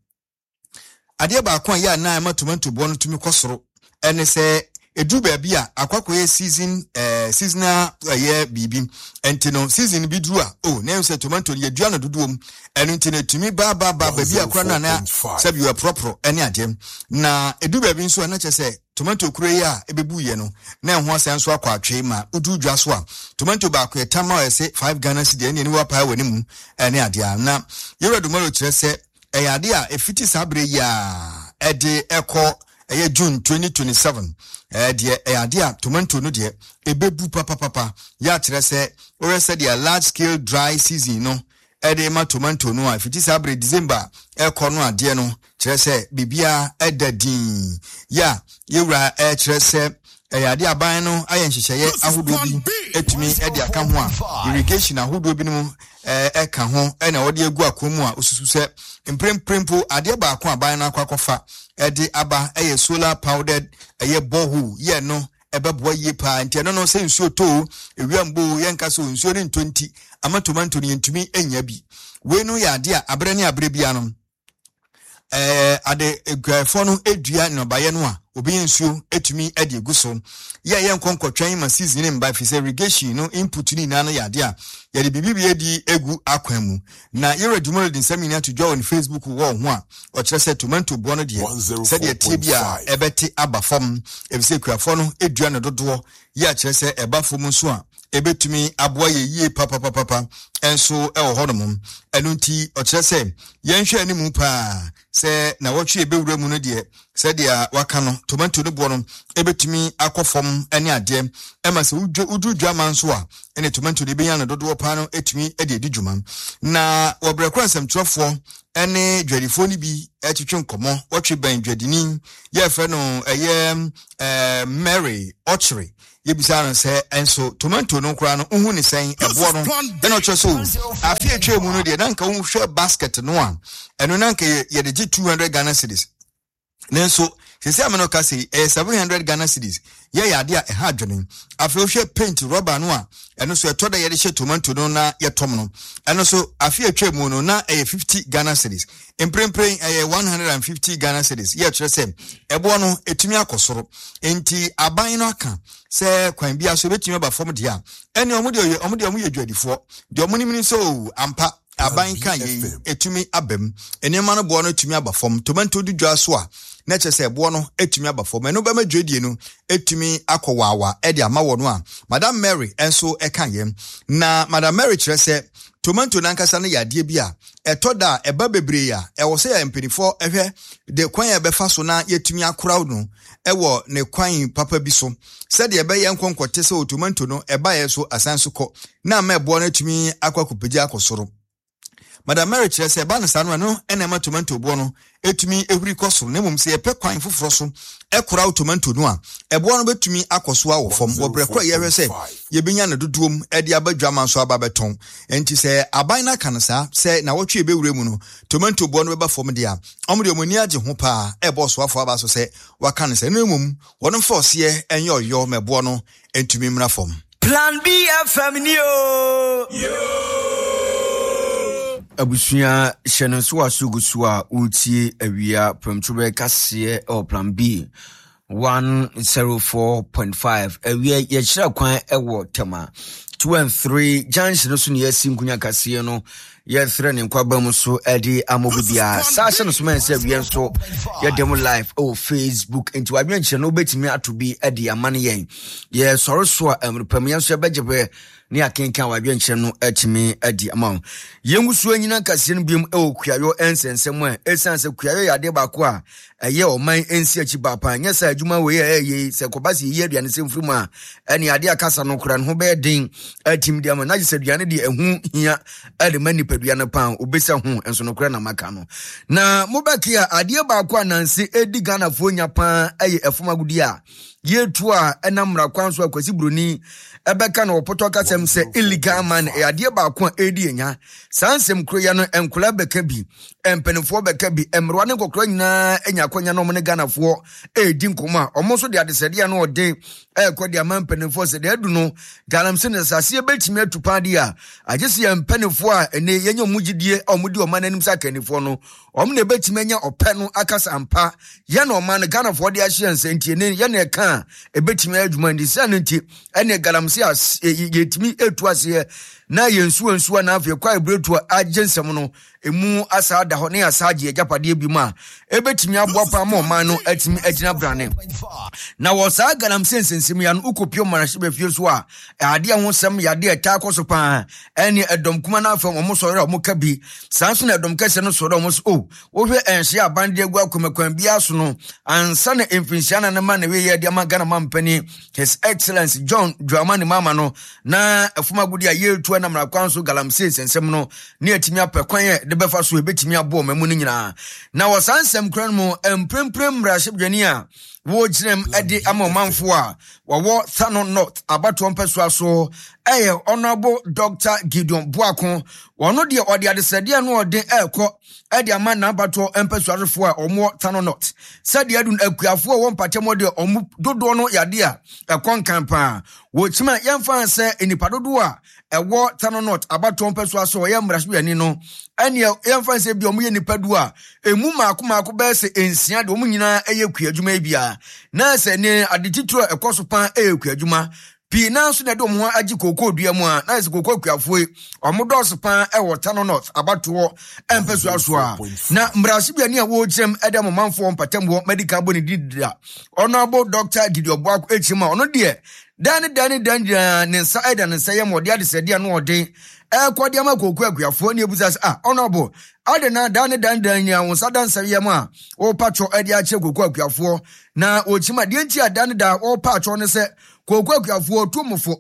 adeɛ baako a ye na ama tomato bo no tumi kɔsoro ene sɛ edu baabi a akwakoye season eh seasonal ye bibi enti no season bi duru a oh na sɛ tomato ye dua no dodoom eno nti na tumi ba ba ba baabi akora na na sɛ bi propro ene ade na edu baabi nso na kyerɛ sɛ tomato kure yi a ebebu ye no na ho asan so akɔ atwe ma udu dwa so a tomato baako ye tama o se five Ghana cedi ene ne wa pa wani mu ene ade a na Yewura Dumelo kyerɛ sɛ ɛyɛ ade a efiti saa bere yi a ɛde ɛkɔ ɛyɛ June twenty twenty-seven eh deɛ ɛyɛ ade a tomato no deɛ ebebu papa papa ya kyerɛ sɛ ɔyɛ sɛ deɛ large scale dry season no ɛde ma tomato no a fiti saa bere December ɛkɔ no adeɛ no kyerɛ sɛ bibia ɛda din ya yewura ɛkyerɛ sɛ ɛyɛ ade aban no ayɛ nhyehyɛeɛ ahodoɔ bi etumi ɛde aka ho a irrigation ahodoɔ bi no ɛka ho ɛna wɔde agu akɔn mu a osusu sɛ mpremprempo adeɛ baako aban no akɔ akɔfa ɛde aba ɛyɛ solar powdered ɛyɛ borehole yɛ no ɛbɛboa yie paa nti ɛno no sɛ nsuo too ewia mbo yɛnka so nsuo ne ntɔ nti ama tomato no yɛntumi anya bi wei no yɛ ade a abrɛ ne abrɛ bia no eh ade eguafo no edua nnɔbaeɛ no a obi nsuo etumi ade egu so ye ye nkonkotwen ma season ne mba fi sɛ irrigation no input ni na no yade a yɛde bibi edi egu akwan mu na yɛrɛ dwumoro de nsɛm nyinaa to dwa on Facebook wɔ ho a ɔkyerɛ sɛ tomato boɔ no deɛ sɛdeɛ tie bi a ɛbɛte aba fam efisɛ kuafo no edua no dodoɔ yɛ akyerɛ sɛ ɛba fam nso a ebetumi aboa yɛ yie papapapapa enso ɛwɔ hɔnom ɛno nti ɔkyerɛ sɛ yɛnhwɛ anim paa sɛ na wɔtwe ebewura mu no deɛ sɛdeɛ waka no tomato no boɔ no ebetumi akɔ fam ɛne adeɛ ɛma sɛ woduru dwama nso a ɛne tomato no ebenya no dodoɔ paa no etumi ɛde edi dwuma na wɔbrɛ kora nsɛmtwerɛfoɔ ɛne dwadifoɔ no bi ɛtwetwe nkɔmmɔ wɔtwe bɛn dwadini yɛfrɛ no ɛyɛ ɛɛ Mary Ɔkyere yebisa no sɛ enso tomato no kora no uhu ne sɛn ɛboɔ no ɛna ɔkyerɛ so afi atwa mu no deɛ na nka wohwɛ basket no a ɛno na nka yɛde gye two hundred Ghana cedis nanso sisi ameno ka sɛ ɛyɛ seven hundred Ghana cedis yɛ yɛ ade a ɛha adwene afei wohwɛ paint rubber no a ɛno so ɛtɔ da yɛde hyɛ tomato no na yɛtɔm no ɛno so afi atwa mu no na ɛyɛ fifty Ghana cedis mprempren ɛyɛ one hundred fifty Ghana cedis yɛ kyerɛ sɛ ɛboɔ no etumi akɔ soro nti aban no aka sɛ kwan bi aso ebetumi aba fam deɛ a ɛne ɔmo deɛ ɔmo deɛ ɔmo yɛ dwadifoɔ deɛ ɔmo nim ni sɛ o ampa aban ka yɛ etumi abam nneɛma no boɔ no etumi aba fam tomato di dwa so a na kyerɛ sɛ ɛboɔ no etumi aba fam ɛno bɛma dwadie no etumi akɔ waawa ɛde ama wɔ no a Madam Mary nso ɛka yɛn na Madam Mary kyerɛ sɛ tomato nankasa no yɛ adeɛ bi a ɛtɔ da a ɛba bebree a ɛwɔ sɛ yɛ mpanimfoɔ ɛhwɛ de kwan a ɛbɛfa so na yɛtumi akora no ɛwɔ ne kwan papa bi so sɛdeɛ ɛbɛyɛ nkɔnkɔte sɛ tomato no ɛba yɛ so asan so kɔ na ama ɛboɔ no atumi akɔ akɔpagya akɔ soro. Madam Mary kyerɛ sɛ ɛba no saa no ɛno ɛna ɛma tomato boɔ no etumi ehuri kɔ soro na mmom sɛ yɛpɛ kwan foforɔ so ɛkora tomato no a ɛboɔ no bɛtumi akɔ so awɔ fam wɔ brɛ koro a yɛhwɛ sɛ yɛbɛnya no dodoɔ mu ɛde aba dwama nso aba bɛtɔn nti sɛ aban no aka no saa sɛ na wɔtwe ebɛwura mu no tomato boɔ no bɛba fam deɛ a ɔmo deɛ ɔmo ani agye ho paa ɛbɔ ɔsoafoɔ aba so sɛ waka no sɛ no mmom wɔn mfa ɔseɛ ɛnyɛ ɔyɔ ma ɛboɔ no ntumi mmra fam. Plan B F M ni o. Abusua hyɛ no nso aso gu so a wotie awia prɛmtoberɛ kaseɛ ɛwɔ Plan B one zero four point five awia yɛkyerɛ kwan ɛwɔ Tema two and three junction so ne yɛasi nkonya kaseɛ no yɛsrɛ ne nkwaba mu so ɛde ama obi biara saa hyɛ no so mɛn sɛ awia nso yɛda mu live ɛwɔ Facebook nti wadwene nkyerɛ no wobɛtumi ato bi ɛde ama no yɛn yɛsɔre so a mmerepam yɛn nso yɛbɛgye pɛ ne akenkan wadwene nkyerɛ no atumi adi ama wo. Yɛn nso anyina kaseɛ no biom ɛwɔ kuayɔ nsɛnsɛm a ɛsiane sɛ kuayɔ yɛ adeɛ baako a ɛyɛ ɔman nsi akyi baapa nyɛ sɛ adwuma wei a ɛyɛ sɛ kɔba sɛ yɛyi aduane sɛ mfiri mu a ɛne adeɛ akasa no kora ne ho bɛyɛ den atim de ama na gye sɛ aduane deɛ ɛho hia ɛde ma nipadua no paa obɛsa ho nso no kora na maka no na mobɛke a adeɛ baako a nanse ɛdi Ghanafoɔ nya paa ɛyɛ ɛfom agodie a yɛtu a ɛnam mmara kwan so akwasi buroni ɛbɛka na wɔpɔtɔ kasɛm sɛ illegal man ɛyɛ adeɛ baako a ɛdi anya saa nsɛm kuro ya no nkɔla bɛka bi mpanimfoɔ bɛka bi mmerewa ne nkɔkora nyinaa anya akwanya na ɔmo ne Ghanafoɔ ɛredi nkɔmmɔ a ɔmo nso de adesɛdeɛ no ɔden ɛrekɔ de ama mpanimfoɔ sɛ deɛ adu no galamsey ne saseɛ bɛtumi atu paa deɛ a agye sɛ yɛn mpanimfoɔ a ɛnɛ yɛnyɛ ɔmo gyidie a ɔmo di ɔman n'anim sɛ akannifoɔ no ɔmo na ɛbɛtumi anya ɔpɛ no akasa ampa yɛn na ɔman no Ghanafoɔ de ahyɛ nsa nti ɛnɛ yɛn na ɛka a ɛbɛtumi ayɛ adwuma nti sɛ no nti ɛne galamsey yɛtumi etu aseɛ na yɛn nsuo nsuo na afei kɔ eburetu a agye nsɛm no emu asa ada hɔ ne asa agye agyapadeɛ bi mu a ebetumi aboa paa ma ɔman no atumi agyina brane na wɔ saa galamsey nsɛnsɛm yi ano ukopio mmarahyɛbadwafie so a adeɛ ho sɛm yadeɛ ɛtaa kɔ so paa ɛne ɛdɔm kuma no afɛm ɔmo sɔre a ɔmo ka bi saa nso na ɛdɔm kɛseɛ no sɔre a ɔmo so o wohwɛ ɛnhyɛ aban de agu akɔmɛkwan biara so no ansa na mfinhyia na ne ma na weyɛ de ama Ghana mampanin His Excellency John Dramani Mahama no na ɛfom agodi a yɛretu ɛnam mmara so galamsey nsɛnsɛm no ne atumi apɛ kwan a de bɛfa so ebetumi aboɔ ɔman mu no nyinaa na wɔ saa nsɛm kura no mu mprempren mmarahyɛbadwani a Wɔgyinam de ama ɔmanfoɔ a wɔwɔ Tano North abatoɔ mpɛsoa so ɛyɛ Honorable Doctor Gideon Boako. Wɔno deɛ ɔde adesrɛdeɛ no ɔde ɛrekɔ ɛde ama n'abatoɔ mpɛsoasofoɔ a wɔwɔ Tano North sɛdeɛ adu akuafoɔ a wɔwɔ mpatamu deɛ wɔn dodoɔ no yadeɛ a ɛkɔ nkan paa. Wɔkyima yɛmfa sɛ nnipa dodoɔ a ɛwɔ Tano North abatoɔ mpɛsoa so ɔyɛ mmarahyɛbadwani no ɛneɛ yɛmfa sɛ bi ɔmo yɛ nnipa du a emu mmaako mmaako bɛyɛ sɛ nsia deɛ ɔmo nyinaa ɛyɛ kua adwuma yi bia na sɛ ne ade titire a ɛkɔ so paa ɛyɛ kua adwuma pii naa nso na ɛde ɔmo ho agye kookoo dua mu a na sɛ kookoo akuafoɔ yi ɔmo dɔɔso paa ɛwɔ Tano North abatoɔ mpɛsoa so a na mmarahyɛbadwani a wɔrekyerɛm ɛde amomanfoɔ mpatamuɔ medical bɔ ne din da Honorable Doctor Gideon Boako ekyim a ɔno deɛ dan ne dan ne dan nyinaa ne nsa ɛda ne nsa yɛ ma ɔde adesrɛdeɛ no ɔden ɛkɔ de ama kookoo akuafoɔ ne ebusa sɛ ah Honorable ade na dan ne dan dan nyinaa wɔn nsa da nsa yɛ mu a wɔrepa twɔ ɛde akyerɛ kookoo akuafoɔ na wɔkyim a deɛ nti a dan ne da wɔrepa atwɔ ne sɛ kookoo akuafoɔ tu mofo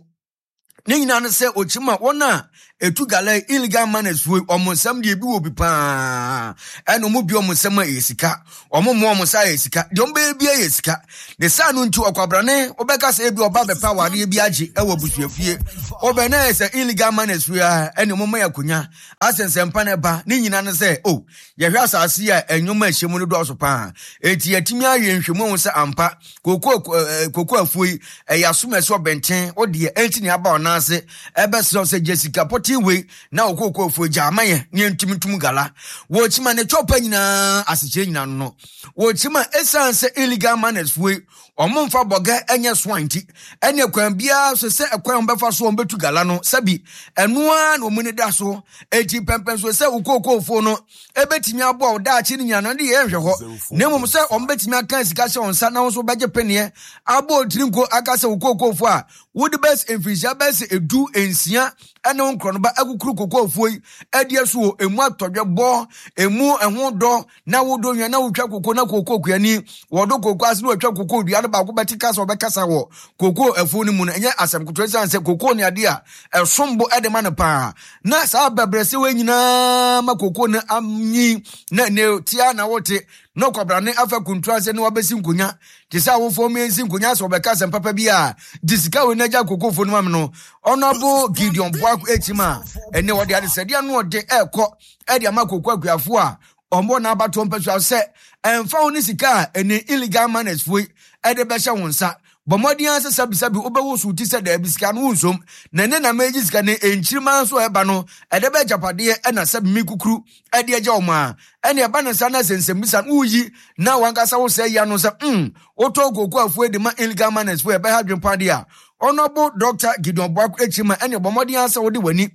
ne nyinaa no sɛ ɔkyim a wɔn a ɛtu gala illegal miners foɔ ɔmo nsɛm deɛ ebi wɔ bi paa ɛna ɔmo bi ɔmo nsɛm a ɛyɛ sika ɔmo mmoa ɔmo nsa yɛ sika deɛ ɔmo bɛyɛ bi yɛ sika ne saa no nti ɔkwabrane ɔbɛka sɛ ebi ɔba bɛpa awareɛ bi agye ɛwɔ abusuafie ɔbɛn na yɛ sɛ illegal miners foɔ a ɛna ɔmo ma yɛ akonnwa asɛnsɛmpa na ɛba ne nyinaa no sɛ o yɛhwɛ asase yi a ɛnwoma ɛhyɛ mu no dɔɔso paa eti yɛtumi ayɛ nhwɛmu ahu sɛ ampa koko ɛɛ koko afuo yi ɛyɛ asomɛsɛ ɔbɛnten ɔdeɛ ɛnti ne aba ɔnan ase ɛbɛsrɛ sɛ gye sika pɔtee wei na okoko afuo gya ama yɛ ne yɛntumi ntum gala wɔkyima ne twɔpa nyinaa asekyerɛ nyinaa no wɔkyima ɛsiane sɛ illegal miners foɔ yi ɔmo mfa bɔgɛ ɛnyɛ soa nti ɛne kwan biara so sɛ ɛkwan bɛfa so ɔmo bɛtu gala no sɛbi ɛnoa na ɔmo ne da so eti pɛmpɛn so sɛ okokoofoɔ no ebetumi aboa ɔdaakye ne nyinaa no de yɛ nhwɛ hɔ na mmom sɛ ɔmo bɛtumi aka sika hyɛ wɔn nsa na wɔn nso bɛgye peneɛ abɔ otiri nko aka sɛ okokoofoɔ a wode bɛs mfirihyia bɛs edu nsia ɛne wo nkorɔnoba akukuru kokoofoɔ yi ɛde aso wɔ emu atɔdwɛ bɔ emu ɛho dɔ na wodɔ nwa na wotwa koko na koko kuani wɔdo koko ase na wɔtwa koko dua no baako bɛte kasa wɔbɛkasa wɔ koko afuo no mu no ɛnyɛ asɛm ketewa esiane sɛ koko ne adeɛ a ɛsom bo ɛde ma no paa na saa bɛbrɛsɛ wɔ nyinaa ma koko no anyi na ne tia na wote na ɔkwabrane afa kuntu ase na wabɛsi nkonya te sɛ awofoɔ mmiɛnsi nkonya sɛ ɔbɛka asɛm papa bi a gye sika wɔ n'agya kokofo no ma me no Honorable Gideon Boako ekyim a ɛne wɔde adesrɛdeɛ no ɔde ɛrekɔ ɛde ama koko akuafoɔ a ɔmbɔ n'abatoɔ mpɛsoa sɛ ɛmfa wo ne sika a ɛne illegal miners foɔ yi ɛde bɛhyɛ wo nsa bɔ mmɔden ara sɛ sɛbisɛbi wobɛwo so ti sɛ daabi sika no wonsom na ne na megye sika ne nkyirima nso a ɛba no ɛde bɛ agyapadeɛ ɛna sɛ mi kukuru ɛde agya wɔn a ɛne ɛba ne nsa na sɛ nsɛmbisa no woyi na wankasa wo sɛ ya no sɛ mm wotɔ koko afuo de ma illegal miners foɔ ɛbɛha adwempa deɛ a Honorable Doctor Gideon Boako akyi ma ɛne bɔ mmɔden ara sɛ wode w'ani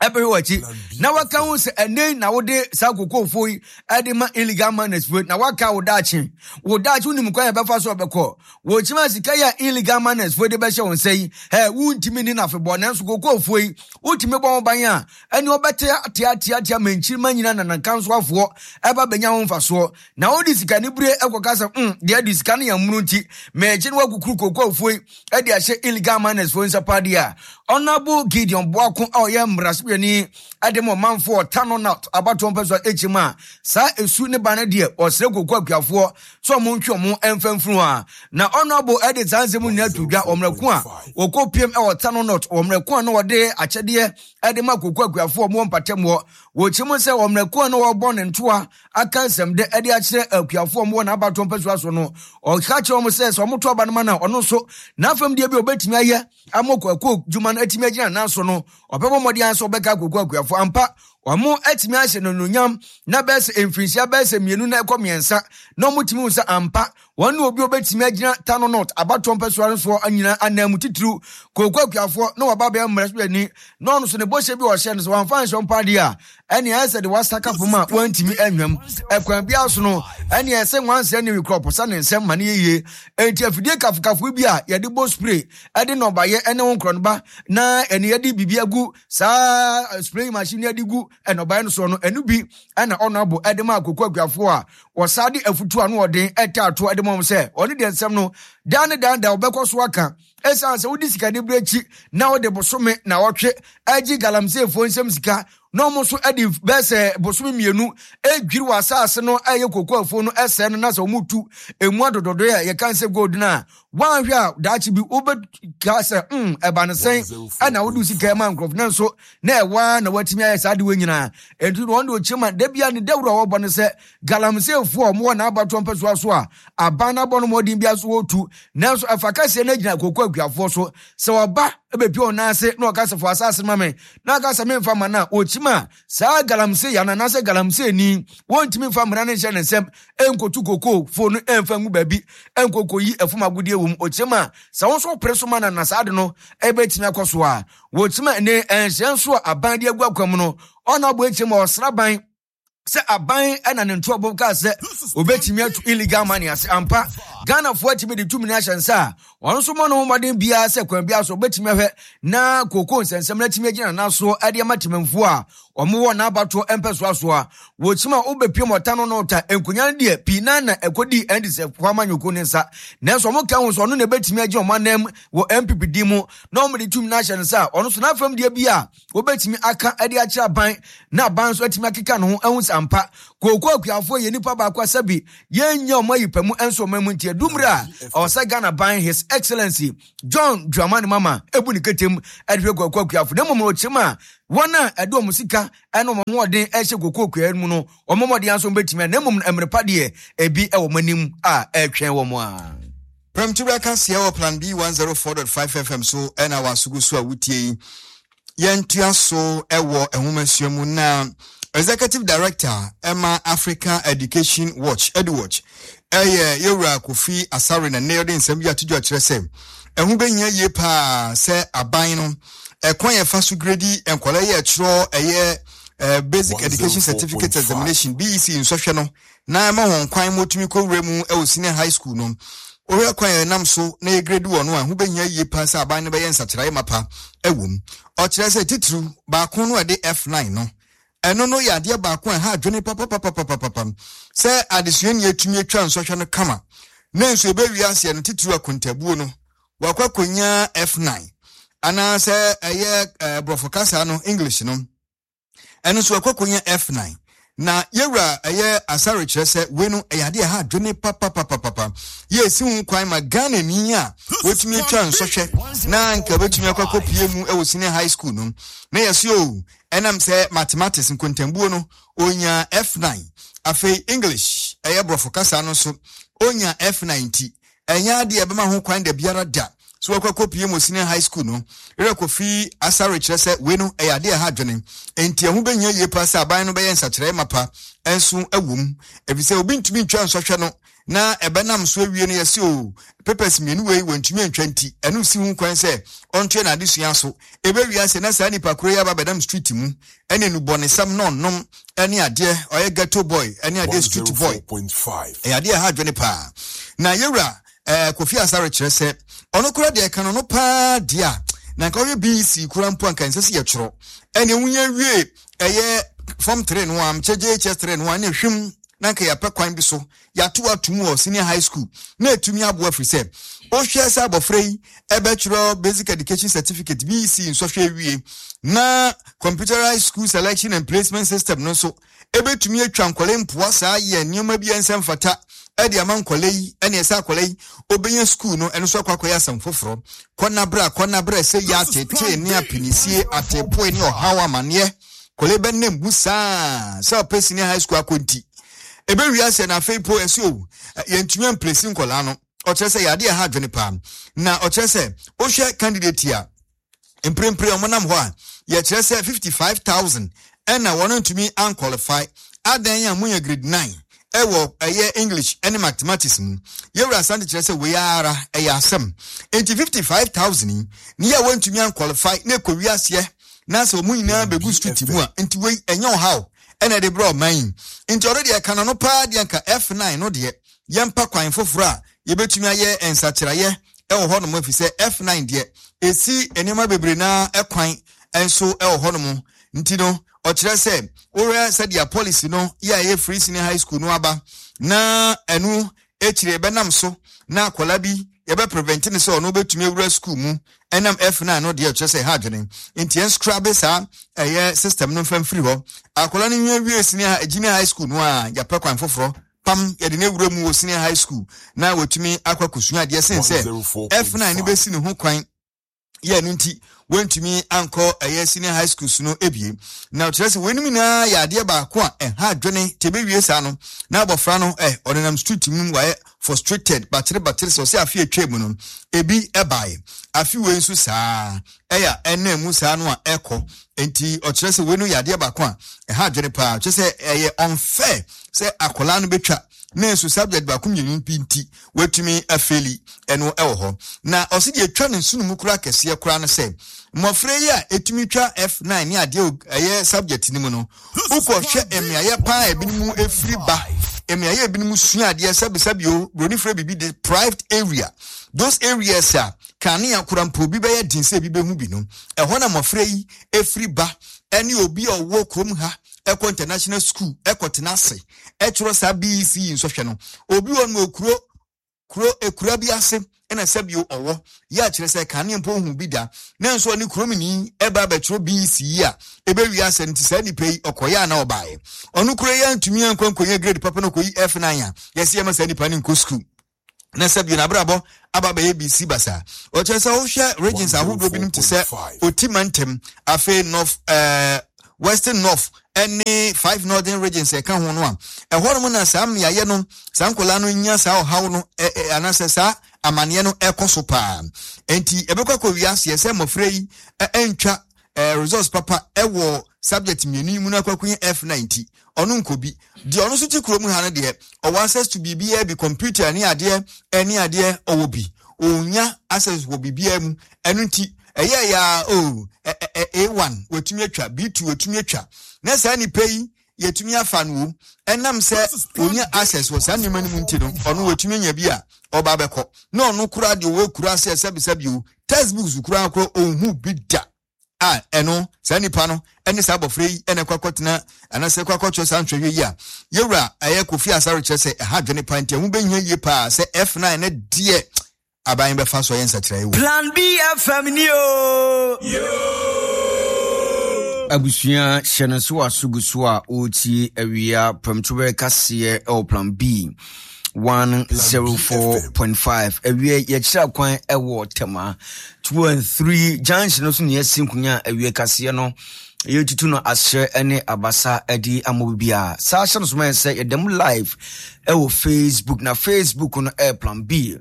ɛbɛhwɛ w'akyi na waka ho sɛ ɛnɛ na wode saa kokofoɔ yi ɛde ma illegal miners foɔ na waka wo daakye wo daakye wonim kwan yɛbɛfa so ɔbɛkɔ wɔkyima sika yi a illegal miners foɔ de bɛhyɛ wo nsa yi ɛ wontumi ni n'afebɔ nanso kokofoɔ yi wotumi bɔ ho ban a ɛne wɔbɛte ateateatea ma nkyirima nyina na nankansoafoɔ ɛba bɛnya ho mfasoɔ na wode sika ne bere ɛkɔka sɛ mm deɛ de sika no yɛ mmoro nti mɛkyi no wakukuru kokofoɔ yi ɛde ahyɛ illegal miners foɔ nsa paa deɛ a Honorable Gideon Boako a ɔyɛ mmarahyɛbadwani ɛde ma ɔmanfoɔ Tano North abatoɔ mpɛsoa akyi mu a saa esu ne ba no deɛ ɔsrɛ koko akuafoɔ sɛ ɔmo ntwe ɔmo ɛmfa mfunu a na Honorable ɛde saa nsɛm nyinaa to dwa ɔmmerɛko a wɔkɔ piem ɛwɔ Tano North ɔmmerɛko a na wɔde akyɛdeɛ ɛde ma koko akuafoɔ ɔmo wɔ mpatamu hɔ wɔkyerɛ mu sɛ ɔmmerɛko a na wɔbɔ ne ntoa aka nsɛm de ɛde akyerɛ akuafoɔ ɔmo wɔ n'abatoɔ mpɛsoa so no ɔka kyerɛ ɔmo sɛ sɛ ɔmo to aba no ma no a ɔno nso n'afam deɛ bi a ɔbɛtumi ayɛ ama koko dwuma no atumi agyina nan so no ɔbɛbɔ mmɔden sɛ ɔbɛka koko akuafoɔ ampa ɔmo atumi ahyɛ no nonyam na bɛyɛ sɛ mfirinhyia bɛyɛ sɛ mmienu na ɛkɔ mmiɛnsa na ɔmo tumi hu sɛ ampa wɔn ne obi a obɛtumi agyina Tano North abatoɔ mpɛsoa no soɔ nyinaa anan mu titiriw koko akuafoɔ na waba bɛyɛ mmarahyɛbadwani na ɔno so ne bɔhyɛ bi a ɔhyɛ no sɛ wɔamfa nhyɛ mpa adeɛ a ɛne ayɛ sɛ de wasaka pom a wɔntumi anwam ɛkwan biara so no ɛne ɛsɛ nwansɛ ne wikorɔ pɔsa ne nsɛm ma ne yɛyie enti afidie kafokafo bi a yɛde bɔ spray ɛde nnɔbayɛ ɛne wo nkorɔnoba na ɛne yɛde biribi agu saa spray machine yɛde gu nnɔbaeɛ no soɔ no ɛno bi ɛna ɔno abo ɛde ma akoko akuafoɔ a wɔsaa de afutu ano ɔden ɛta ato ɛde ma wɔn sɛ ɔne deɛ nsɛm no dan ne dan da ɔbɛkɔ so aka Ɛsiane sɛ wode sika de berɛ akyi na wode bosome na wɔtwe agye galamseyfoɔ nsɛm sika na ɔmo nso de bɛɛ sɛ bosome mmienu edwiri wɔ asase no ɛyɛ koko afuo no ɛsɛɛ no, na sɛ ɔmo tu emu adodɔdɔ a yɛka sɛ gold no a, woanhwɛ a daakye bi wobɛka sɛ mm ɛba no sɛn ɛna wode sika ma nkurɔfo no nso na ɛwa na watumi ayɛ saa de wɔ nyinaa. Ɛnti no wɔn de ɔkyerɛ ma da bia ne dawuro a wɔbɔ no sɛ galamseyfoɔ a wɔwɔ n'abatoɔ mpɛsoa so a aban no abɔ no mmɔden bi so wɔtu, nanso ɛfa kɛseɛ no agyina koko akuafoɔ so sɛ wɔba bɛpie wɔn nan ase na ɔka sɛ fo asase ma me na aka sɛ memfa ma no a, wɔkyim a saa galamsey yana anaasɛ galamsey ni wɔntumi mfa mmara no nhyɛ ne nsɛm ɛnkɔtu koko fo no ɛmfa ngu baabi ɛnkɔkɔ yi ɛfom agodeɛ wɔ mu. Ɔkyim a sɛ wɔn nso pere so ma no na saa de no ɛbɛtumi akɔ so a wɔkyim a ne ɛnhyɛn so a aban de agu akwan mu no ɔna abɔ akyim a ɔsraban sɛ aban ɛna ne ntoabɔ kaa sɛ obɛtumi atu illegal money ase ampa. Ghanafoɔ atumi de tumi no ahyɛ nsa a ɔno nso mmɔ ne ho mmɔden biara sɛ kwan biara so obɛtumi ahwɛ na kooko nsɛnsɛm no atumi agyina n'asoɔ ɛde ama temamfoɔ a ɔmo wɔ n'abatoɔ mpɛsoa so a wɔkyim a wobɛpiem ɔta no no ta nkonya no deɛ pii na na ɛkɔdii N D C foɔ amanyɔkuo ne nsa, nanso ɔmo ka ho sɛ ɔno na ɛbɛtumi agye ɔmo anam wɔ N P P din mu na ɔmo de tumi no ahyɛ ne nsa a ɔno nso n'afam deɛ bi a wobɛtumi aka de akyerɛ aban na aban nso atumi akeka ne ho ahu sɛ ampa kooko akuafoɔ yɛ nipa baako asɛbi yɛnya ɔmo ayi pɛ mu nso ɔmo mu. Nti adummerɛ a ɔwɔ sɛ Ghana ban, His Excellency John Dramani Mama, ebu ne ketem ɛde hwɛ kooko akuafoɔ, na mmom ɔkyerɛ mu a wɔn a ɛde wɔn sika ɛne wɔn ahoɔden ɛhyɛ kooko akua mu no, wɔn mmɔden nso bɛtumi a, na mmom mmerɛ pa deɛ ebi ɛwɔ wɔn anim a ɛretwɛn wɔn a. Prɛmtubra kaseɛ wɔ Plan B one oh four point five F M so ɛna wasogo so a wotie yi. Yɛntoa so ɛwɔ nwomasua mu na Executive Director ɛma Africa Education Watch, EduWatch, ɛyɛ yɛwura Kofi Asare na nnɛ ɔde nsɛm bi ato dwa kyerɛ sɛ ɛho bɛhia yie paa sɛ aban no ɛkwan yɛfa so grade nkwadaa yi ɛtwerɛ ɛyɛ uh, Basic Education Certificate Examination, B E C nsɔhwɛ no, na ɛma wɔn kwan ma otumi kɔwura mu ɛwɔ senior high school no. Wohwɛ kwan yɛn nam so na yɛ grade wɔ no a, ho bɛhia yie paa sɛ aban no bɛyɛ nsakyerɛeɛ mapa ɛwɔ mu. Ɔkyerɛ sɛ titiriw baako no a ɛde F nine no, ɛno no yɛ adeɛ baako a ɛha adwene papapapapapam sɛ adesuani atumi atwa nsɔhwɛ no kama na nso ɛbɛwie aseɛ no, titiriw akontabuo no, wakɔ akɔnya F nine, anaasɛ ɛyɛ ɛɛ borɔfo kasa no, English no, ɛno nso wakɔ akɔnya F nine. Na yɛwura ɛyɛ Asare kyerɛ sɛ wei no ɛyɛ adeɛ ɛha adwene papapapapapa yɛ esi ho kwan ma Ghana ni a wɔtumi atwa nsɔhwɛ na nka wɔbɛtumi akɔ akɔpie mu ɛwɔ senior high school no na yɛsi o ɛnam sɛ mathematics nkontambuo no onya F nine, afei English, ɛyɛ borɔfo kasa no nso onya F nine, ti ɛnyɛ adeɛ ɛbɛma ho kwan da biara da so wɔkɔ akɔpie mu senior high school no. Erɛ Kofi Asare kyerɛ sɛ wei no ɛyɛ adeɛ ɛha adwene, nti ɛho bɛhia yie paa sɛ aban no bɛyɛ nsakyerɛeɛ mapa nso ɛwɔ mu, efisɛ obi ntumi ntwa nsɔhwɛ no na ɛbɛnam so awie no yɛsi o papers mmienu wei wɔntumi ntwa, nti ɛno si ho kwan sɛ ɔntoɛ n'adesua so. Ɛbɛwie ase na saa nipa koro yi aba bɛdam street mu ɛne nubɔnesɛm na ɔnom ɛne adeɛ, ɔyɛ ghetto boy ɛne adeɛ, street boy. Ɛyɛ adeɛ ɛha adwene paa. Na yɛwura ɛɛ Kofi Asare kyerɛ sɛ ɔno kora deɛ ɛka no no paa deɛ a na nka ɔyɛ B E C kora mpo anka nsɛ sɛ yɛtwerɛ ɛne wonya wie ɛyɛ form three no a mekyɛ J H S three no a ne hwem na nka yɛapɛ kwan bi so yɛato ato mu wɔ senior high school na ɛtumi aboa, firi sɛ wohwɛ sɛ abɔfra yi ɛbɛtwerɛ Basic Education Certificate, B E C nsɔhwɛ awie na Computerized School Selection and Placement System no nso ɛbɛtumi atwa nkɔla mpoa saa yɛ nneɛma bi a ɛnsɛ mfata ɛde ama nkɔla yi, ɛne ɛsɛ akɔla yi obɛnya school no, ɛno nso akɔ akɔyɛ asɛm foforɔ. Kɔnabra kɔnabra sɛ yɛ atetee ne apinisie atepoe ne ɔhaw amanneɛ kɔla bɛnam bu saa sɛ ɔpɛ senior high school akɔ, nti ɛbɛwie asɛ na afei po ɛsɛ o yɛntumi am place nkɔlaa no. Ɔkyerɛ sɛ yɛade ɛha adwene paa na ɔkyerɛ sɛ wohwɛ candidate a mprempren ɔmo nam hɔ a yɛkyerɛ sɛ fifty-five thousand ɛna wɔn ntumi an qualify adan a moyɛ grade nine ɛwɔ ɛyɛ English ɛne mathematics mu. Yɛwura Asante kyerɛ sɛ wei ara ɛyɛ asɛm, nti fifty-five thousand yi ne yɛ a wɔntumi an qualify na ɛkɔ wiaseɛ na sɛ wɔn nyinaa bɛgu street mu a, nti wei ɛnyɛ ɔhaw ɛna ɛde brɛ ɔman yi? Nti ɔno deɛ ɛka no no paa deɛ nka F nine no deɛ yɛmpa kwan foforɔ a yɛbɛtumi ayɛ nsakyerɛeɛ ɛwɔ hɔnom, ɛfiri sɛ F nine deɛ ɛsi nneɛma bebree naa ɛkwan nso ɛwɔ hɔnom. Nti no ɔkyerɛ sɛ wohwɛ sɛdeɛ policy no yɛ a ɛyɛ free senior high school no aba na ɛno akyire ɛbɛnam so na akwadaa bi yɛbɛ prevent ne sɛ ɔno bɛtumi awura school mu ɛnam F nine no deɛ, ɛkyerɛ sɛ ɛha adwene. Nti yɛn scrap saa ɛyɛ system no mfa mfiri hɔ. Akwadaa no nwa wie senior junior high school no a, yɛpɛ kwan foforɔ pam yɛde ne awura mu wɔ senior high school na wɔtumi akɔ akɔsua adeɛ sen sɛ F nine no bɛsi ne ho kwan yɛ no. Nti wɔntumi ankɔ ɛyɛ senior high school so no ebie. Na kyerɛ sɛ wɔn nyinaa yɛ adeɛ baako a ɛha adwene. Te bɛwie saa no na abɔfra no ɛ ɔnenam street mu, wayɛ frustrated, batere batere. Sɛ ɔsɛ afe atwa mu no ebi ɛbaeɛ, afe wei nso saa ɛyɛ ɛnam mu saa no a ɛkɔ. Nti ɔkyerɛ sɛ wei no yɛ adeɛ baako a ɛha adwene paa. Kyerɛ sɛ ɛyɛ unfair sɛ akwadaa no bɛtwa na nso subject baako mmienu bi nti watumi afail. Ɛno ɛwɔ hɔ. Na ɔsi deɛ etwa ne nsono mu kora kɛseɛ kora no sɛ mmɔfra yi a etumi twa F nine ne adeɛ ɛyɛ subject no mu no, wokɔhwɛ mmeayɛ paa ebinom efiri ba, mmeayɛ ebinom sua adeɛ, sɛbisɛbi o, broni fira bibi deprived area, those areas a kanea kora mpo obi bɛyɛ den sɛ ebi bɛhu bi no, ɛhɔ na mmɔfra yi efiri ba. Ɛne obi a ɔwɔ kurom ha ɛkɔ international school ɛkɔ tena ase ɛtwerɛ saa B E C nsɔhwɛ no, obi wɔ no okuro kuro ekura bi ase ɛna sɛbio ɔwɔ yɛ akyerɛ sɛ kanea mpo ohun bi da, na nso ɔne kurom ni ɛba abɛtwerɛ B E C yi a ɛbɛwi asɛ. Nti saa nipa yi ɔkɔyɛ ana ɔbaeɛ, ɔno kuro yi antumi ankɔ nkɔnyɛ grade papa no kɔyi F nine a, yɛsi ɛma saa nipa no nkɔ school na sɛbio n'abrabɔ aba bɛyɛ bisi basa. Ɔkyerɛ sɛ wohwɛ regions ahodoɔ binom te sɛ Oti mantam, afei north ɛɛ Western North ɛne five northern regions ɛka ho no a, ɛhɔ nom na saa mmeayɛ no saa nkɔlaa no nya saa ɔhaw no ɛ ɛ anaasɛ saa amanneɛ no ɛkɔ so paa. Nti ɛbɛkɔ akɔ wiaseɛ sɛ mmɔfra yi ɛntwa ɛɛ results papa ɛwɔ subject mmienu yi mu no akɔ akɔnya F nine ti, ɔno nkɔ bi. Deɛ ɔno nso te kurom ha no deɛ, ɔwɔ access to biribiara bi, computer ne adeɛ ɛne adeɛ, ɔwɔ bi, ɔnya access wɔ biribiara mu. Ɛno nti ɛyɛ ya o, A one wɔtumi atwa, B two wɔtumi atwa, na saa nipa yi yɛtumi afa no o. Ɛnam sɛ onya access wɔ saa nneɛma no mu nti no, ɔno wɔtumi anya bi a ɔba abɛkɔ. Na ɔno koraa deɛ ɔwɔ kura sɛ sɛbisɛbi o, textbooks koraa koraa ɔnhu bi da a, ɛno saa nipa no ɛne saa abɔfra yi ɛna ɛkɔ akɔtena anaasɛ ɛkɔ akɔtwerɛ saa nhwehwɛ yi a, yɛwura ɛyɛ Kofi Asare kyerɛ sɛ ɛha adwene pa. Nti ɛho bɛhia yie paa sɛ F nine ne deɛ aban bɛfa so ɛyɛ nsakyerɛeɛ wɔ Plan B F M ni o. Abusua, hyɛ no so aso gu so a ɔretie awia prɛmtoberɛ kaseɛ ɛwɔ Plan B one zero four point five. Awie yɛkyerɛ kwan ɛwɔ Tɛma two and three junction no so ne yɛsi nkonya a awie kaseɛ no yɛtutu no ahyɛ ne abasa de ama bi a saa. Hyɛ no so ma yɛ sɛ yɛda mu live ɛwɔ Facebook, na Facebook no ɛyɛ Plan B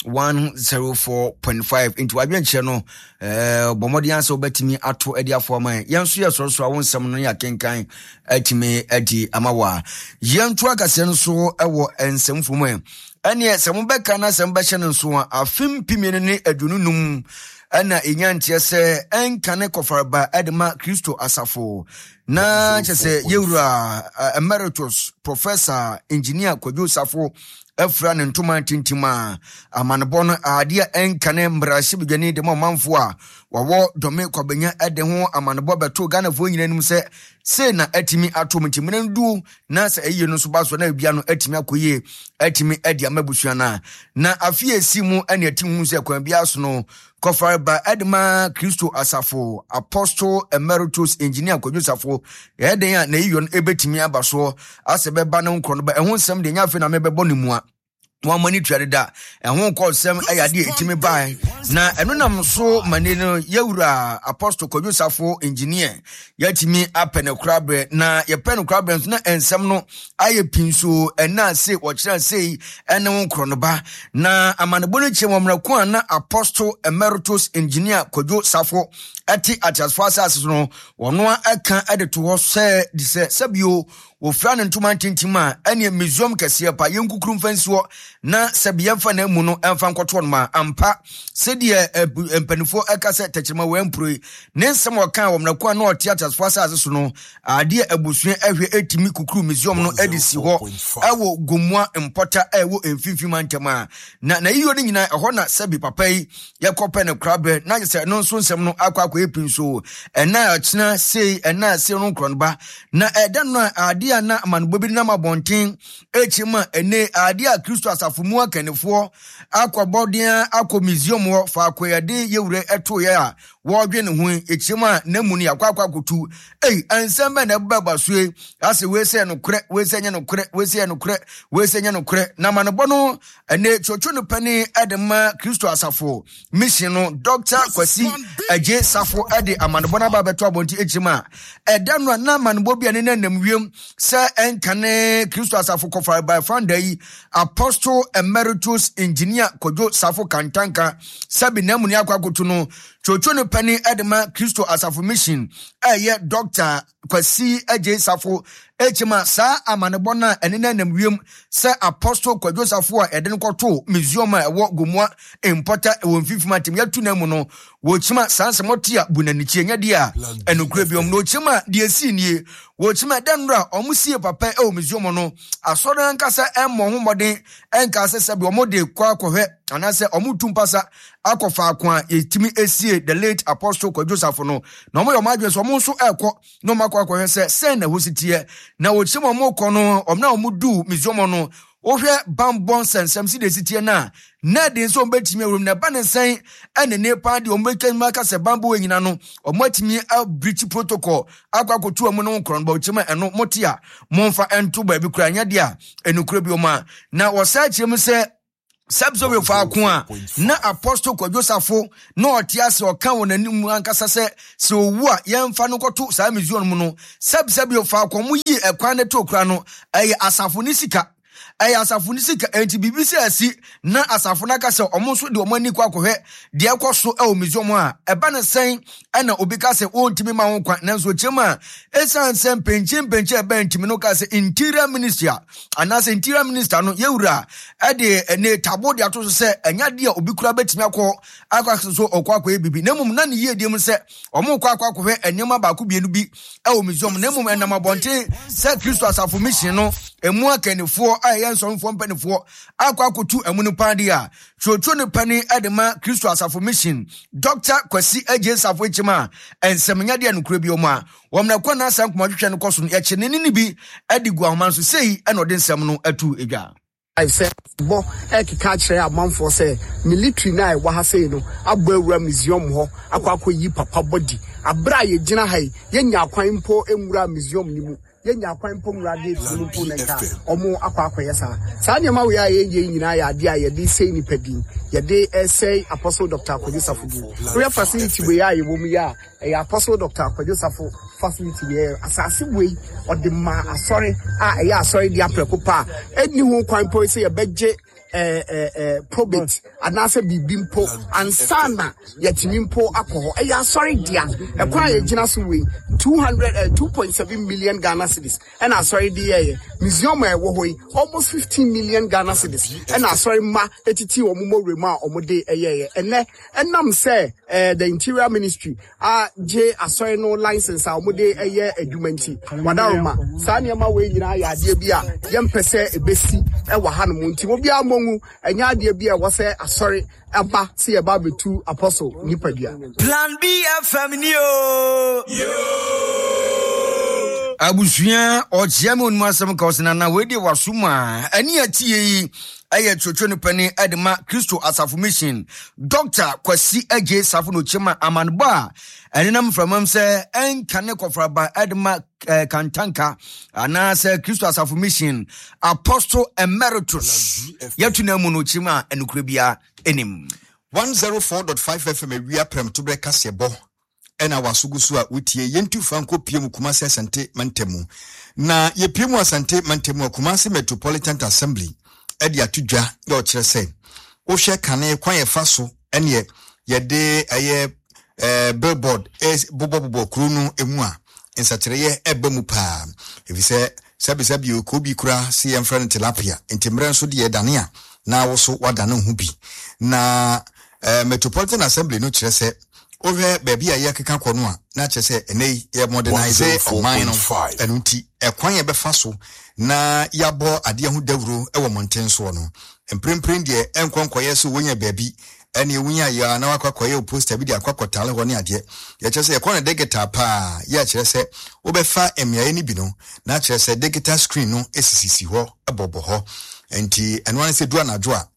one zero four point five. Nti wadwenkyerɛ no ɛɛ bɔ mmɔden asɛ wobɛtumi ato de afoa ma yɛn. Yɛn nso yɛ sɔrɔsɔrɔ a wo nsɛm no yɛ akenkan atumi adi ama wɔ a yɛnto akaseɛ no so wɔ nsɛm fo mu. Ɛ ɛneɛ sɛ mobɛka na sɛ mobɛhyɛ no nso a, afe mpemienu ne aduonu num ɛna ɛnya nteɛ sɛ ɛnka ne kɔfaraba ɛde ma Kristo asafo na kyɛ sɛ yɛwura Emeritus Professor Engineer Kwadwo Safo afura ne ntoma tintim a amanebɔ no adeɛ a ɛnka ne mmarahyɛbadwani de ma ɔmanfoɔ a wɔwɔ Dɔme Kwabenya de ho amanebɔ bɛto Ghanafoɔ nyinaa anim sɛ sei na atumi ato mu. Nti mmerɛ no du na sɛ ɛyie no nso ba so na ebia no atumi akɔ yie, atumi adi ama abusua no a na afe esi mu ɛne ɛti hu sɛ kwan biara so no kɔfareba ɛde ma Kristo asafo Apostle Emeritus Engineer Kwadwo Safo ɛyɛ a na eyiyɔ no ebɛtumi aba soɔ asɛ bɛba ne nkorɔ no ba. Ɛho nsɛm deɛ nyɛ afei na mebɛbɔ ne mua wɔn ama ne tua deda. Ɛho nkɔ nsɛm ɛyɛ adeɛ ɛtumi bae na ɛno nam so ma ne no yɛwura Apostle Kwadwo Safo Engineer yɛatumi apɛ ne koraberɛ na yɛpɛ no koraberɛ nso na nsɛm no ayɛ pii nso. Ɛna ase wɔkyerɛ sei ɛne wo nkorɔ no ba na amanebɔ no kyerɛ wɔ mmerɛko a na Apostle Emeritus Engineer Kwadwo Safo ɛte ateasefoɔ asase so no, wɔno ɛka ɛde to hɔ sɛ de sɛ sɛbio wɔfira ne ntoma ntintim a, ɛneɛ museum kɛseɛ pa yɛnkukuru mfa nsuo na sɛbi yɛmfa na mu no ɛmfa nkɔtoɔ no ma ampa. Sɛdeɛ mpanimfoɔ ɛka sɛ tɛkyerɛma wɔ ampuro ne nsɛm a ɔka wɔ mmerɛko a na ɔte ateasefoɔ asase so no, adeɛ abusua ɛhwɛ ɛtumi kukuru museum no ɛde si hɔ ɛwɔ Gomua mpɔta ɛwɔ mfimfini mantam a na n'ayiyɔ no nyinaa ɛhɔ na sɛbi papa yi yɛkɔpɛ no koraberɛ na kyerɛ sɛ ɛno nso nsɛm no akɔ akɔyɛ pii nso. Ɛna ɛkyena sei ɛna sei no nkorɔ no ba na ɛda no a adeɛ Adeɛ a na amanebɔ bi nam abɔnten akyi mu a ɛne adeɛ a Kristo asafo mu akannifoɔ akɔbɔden akɔ museum hɔ faako yɛde yɛwura ɛtoeɛ a wɔredwe ne ho akyi mu a na mu no yɛakɔ akɔ akɔtu. Ei, nsɛm bɛn na ɛbɛba so yi? Asɛ wei sɛ nokorɛ, wei sɛ nyɛ nokorɛ, wei sɛ yɛ nokorɛ, wei sɛ nyɛ nokorɛ. Na amanebɔ no ɛne twotwo no pani ɛde ma Kristo asafo mission no Doctor Kwasi Agye Safo ɛde amanebɔ no aba abɛto abɔnten akyi mu a ɛda no a na amanebɔ bi a ne nanam wiem sɛ ɛnkane Kristo asafo kɔfa by founder yi Apostle Emeritus Engineer Kojo Safo Kantanka sɛbi na mu ne akɔ akoto no twotwo no pani ɛde ma Kristo asafo mission ɛyɛ Doctor Kwasi Agye Safo echima saa amanebɔ na ɛne nanam wiem sɛ Apostle Kwadwo Safo a ɛde no kɔto museum a ɛwɔ Gomoa Mpɔta wɔ mfimfini atem yɛtu na mu no wɔkyima saa nsɛm ɔte a bunanikyie nyɛ deɛ a ɛnokura biom na wɔkyima deɛ esi nie wɔkyima ɛda nnora a wɔn sie papa ɛwɔ museum no asɔre ankasa ɛmmɔ ho mmɔden ɛnka sɛ sɛbi wɔn de kɔ akɔhwɛ anaasɛ wɔn tu mpasa akɔ faako a yɛtumi esie the late Apostle Kwadwo Safo no na wɔn yɛ wɔn adwene sɛ wɔn nso ɛrekɔ na wɔn akɔ akɔhwɛ sɛ sɛn na ɛhɔ si teɛ na wɔkyima wɔn kɔ no wɔn na wɔn du museum no wohwɛ bambɔ nsɛnsɛm si de si teɛ na na de nso wɔbɛtumi awuram na ɛba ne nsɛn ɛne ne paa deɛ wɔbɛtumi aka sɛ bambɔ wɔ nyina no wɔatumi abirikyi protocol akɔ akɔtu wɔn no nkorɔ no bɔkyɛm a ɛno mote a momfa ɛnto baabi kora nyɛ deɛ a ɛnukura bi wɔn a na wɔsan kyerɛ mu sɛ sɛbsɛbe faako a na Apostle Kwadwo Safo na ɔte ase ɔka wɔ n'anim ankasa sɛ sɛ owu a yɛmfa no kɔto saa museum mu no sɛbsɛbe faako mo yi ɛkwan ne to kora no ɛyɛ asafo ne sika ɛyɛ asafo ne sika enti biribi sɛ asi na asafo no aka sɛ ɔmo nso de ɔmo ani kɔ akɔhwɛ deɛ ɛkɔ so ɛwɔ museum a ɛba ne sɛn ɛna obi ka sɛ wɔntumi ma ho kwan nanso kyerɛ a ɛsiane sɛ mpɛnkye mpɛnkye ɛbɛn ntumi no ka sɛ interior minister anaasɛ interior minister no yɛwura ɛde ɛne tabo de ato so sɛ ɛnya deɛ obi kura bɛtumi akɔ akɔ akɔ so ɔkɔ akɔyɛ bibi na mmom na ne yie deɛ mu sɛ ɔmo kɔ akɔ akɔhwɛ nneɛma baako mmienu bi ɛwɔ museum na mmom ɛnam abɔnten sɛ Kristo asafo mission no emu akannifoɔ a ɛyɛ nsɔnfoɔ mpanimfoɔ akɔ akɔtu ɛmu no paa deɛ a twotwo no pani ɛde ma Kristo asafo mission Doctor Kwasi Agye Safo ekyim a nsɛm nya deɛ nokura bi ɔmo a wɔn na kɔ n'asa nkɔmɔ twitwa no kɔ so no yɛkyɛ ne ne bi ɛde gu ahoma nso sei ɛna ɔde nsɛm no atu edwa. Sɛ bɔ ɛkeka kyerɛ amanfoɔ sɛ military na ɛwɔ ha sei no abɔ awura museum hɔ akɔ akɔyi papa body abere a yɛgyina ha yi yɛnya akwan mpo nwura museum no mu yɛnya akwan mpo nwura gate no mpo na nka ɔmo akɔ akɔyɛ saa saa nneɛma wei a yɛyɛ nyinaa yɛ adeɛ a yɛde sɛe nipa din yɛde ɛsɛe Apostle Doctor Kwadwo Safo din. Woyɛ facility wei a yɛwɔ mu yi a ɛyɛ Apostle Doctor Kwadwo Safo facility wei asase wei ɔde ma asɔre a ɛyɛ asɔre de aprɛko pa a ɛnni ho kwan mpo sɛ yɛbɛgye eh, eh, eh, probate anaasɛ biribi mpo ansa na yɛtumi mpo akɔ hɔ. Ɛyɛ asɔre dea ɛkwan a yɛgyina so wei two hundred eh, two point seven million Ghana cedis ɛna asɔre de yɛyɛ museum a ɛwɔ hɔ yi almost fifteen million Ghana cedis ɛna asɔre mma etiti wɔn mmɔwura mu a wɔn de ɛyɛyɛ. Ɛnɛ ɛnam sɛ eh, the interior ministry a gye asɔre no license a wɔn de ɛyɛ adwuma nti wadaroma saa nneɛma wei nyinaa yɛ adeɛ bi a yɛmpɛ sɛ ebesi ɛwɔ hanom nti obiara mmɔ ɛnyɛ adeɛ bi a ɛwɔ sɛ asɔre ɛba sɛ yɛba abɛtu apostle nipadua. Plan B F M ni o. Abusua ɔkyea me onum asɛm ka ɔsena na wei deɛ waso mu a ɛne atie yi ɛyɛ twotwo no pani ɛde ma Kristo asafo mission Doctor Kwasi Agye Safo no kyema amanebɔ a ɛnenam mframam sɛ ɛnka ne kɔfraba ɛde ma Kantanka anaasɛ Kristo asafo mission Apostle Emeritus yɛtu na mu no kyema ɛnokura bia enim. one oh four point five F M awia prɛmtoberɛ kaseɛbɔ ɛna wasogu so a wotie yɛntu fa nkɔ pie mu Kumasi Asante mantamu na yɛpie mu Asante mantamu a Kumasi Metropolitan Assembly ɛde ato dwa yɛ ɔkyerɛ sɛ wohwɛ kane kwan yɛfa so ɛneɛ yɛde ɛyɛ eh, billboard bobɔbobɔ kuro no emu a nsakyerɛeɛ ɛba mu paa ɛfiri sɛ sɛbisɛbi okuo bi kura si yɛmfrɛ no tilapia nti mmerɛ nso deɛ ɛdane a na wo so wadane ho bi na eh, Metropolitan Assembly no kyerɛ sɛ wohwɛ baabi a yɛkeka kɔ no a na kyerɛ sɛ ɛnɛ yi yɛ modernise ɔman no ɛno nti ɛkwan yɛbɛfa so na yɛabɔ adeɛ ho dawuro ɛwɔ mmɔnten soɔ no mprempren deɛ ɛnkɔ nkɔyɛ sɛ wonya baabi Ɛne ewunya yɛ na wakɔ akɔyɛ poster bi de akɔ akɔtale hɔ ne adeɛ. Yɛkyerɛ sɛ yɛkɔ no digital paa, yɛ kyerɛ sɛ wobɛfa mmeaeɛ no bi no na kyerɛ sɛ digital screen no esisisi hɔ, ɛbɔbɔ hɔ. Nti ɛno ara sɛ du anadwo a,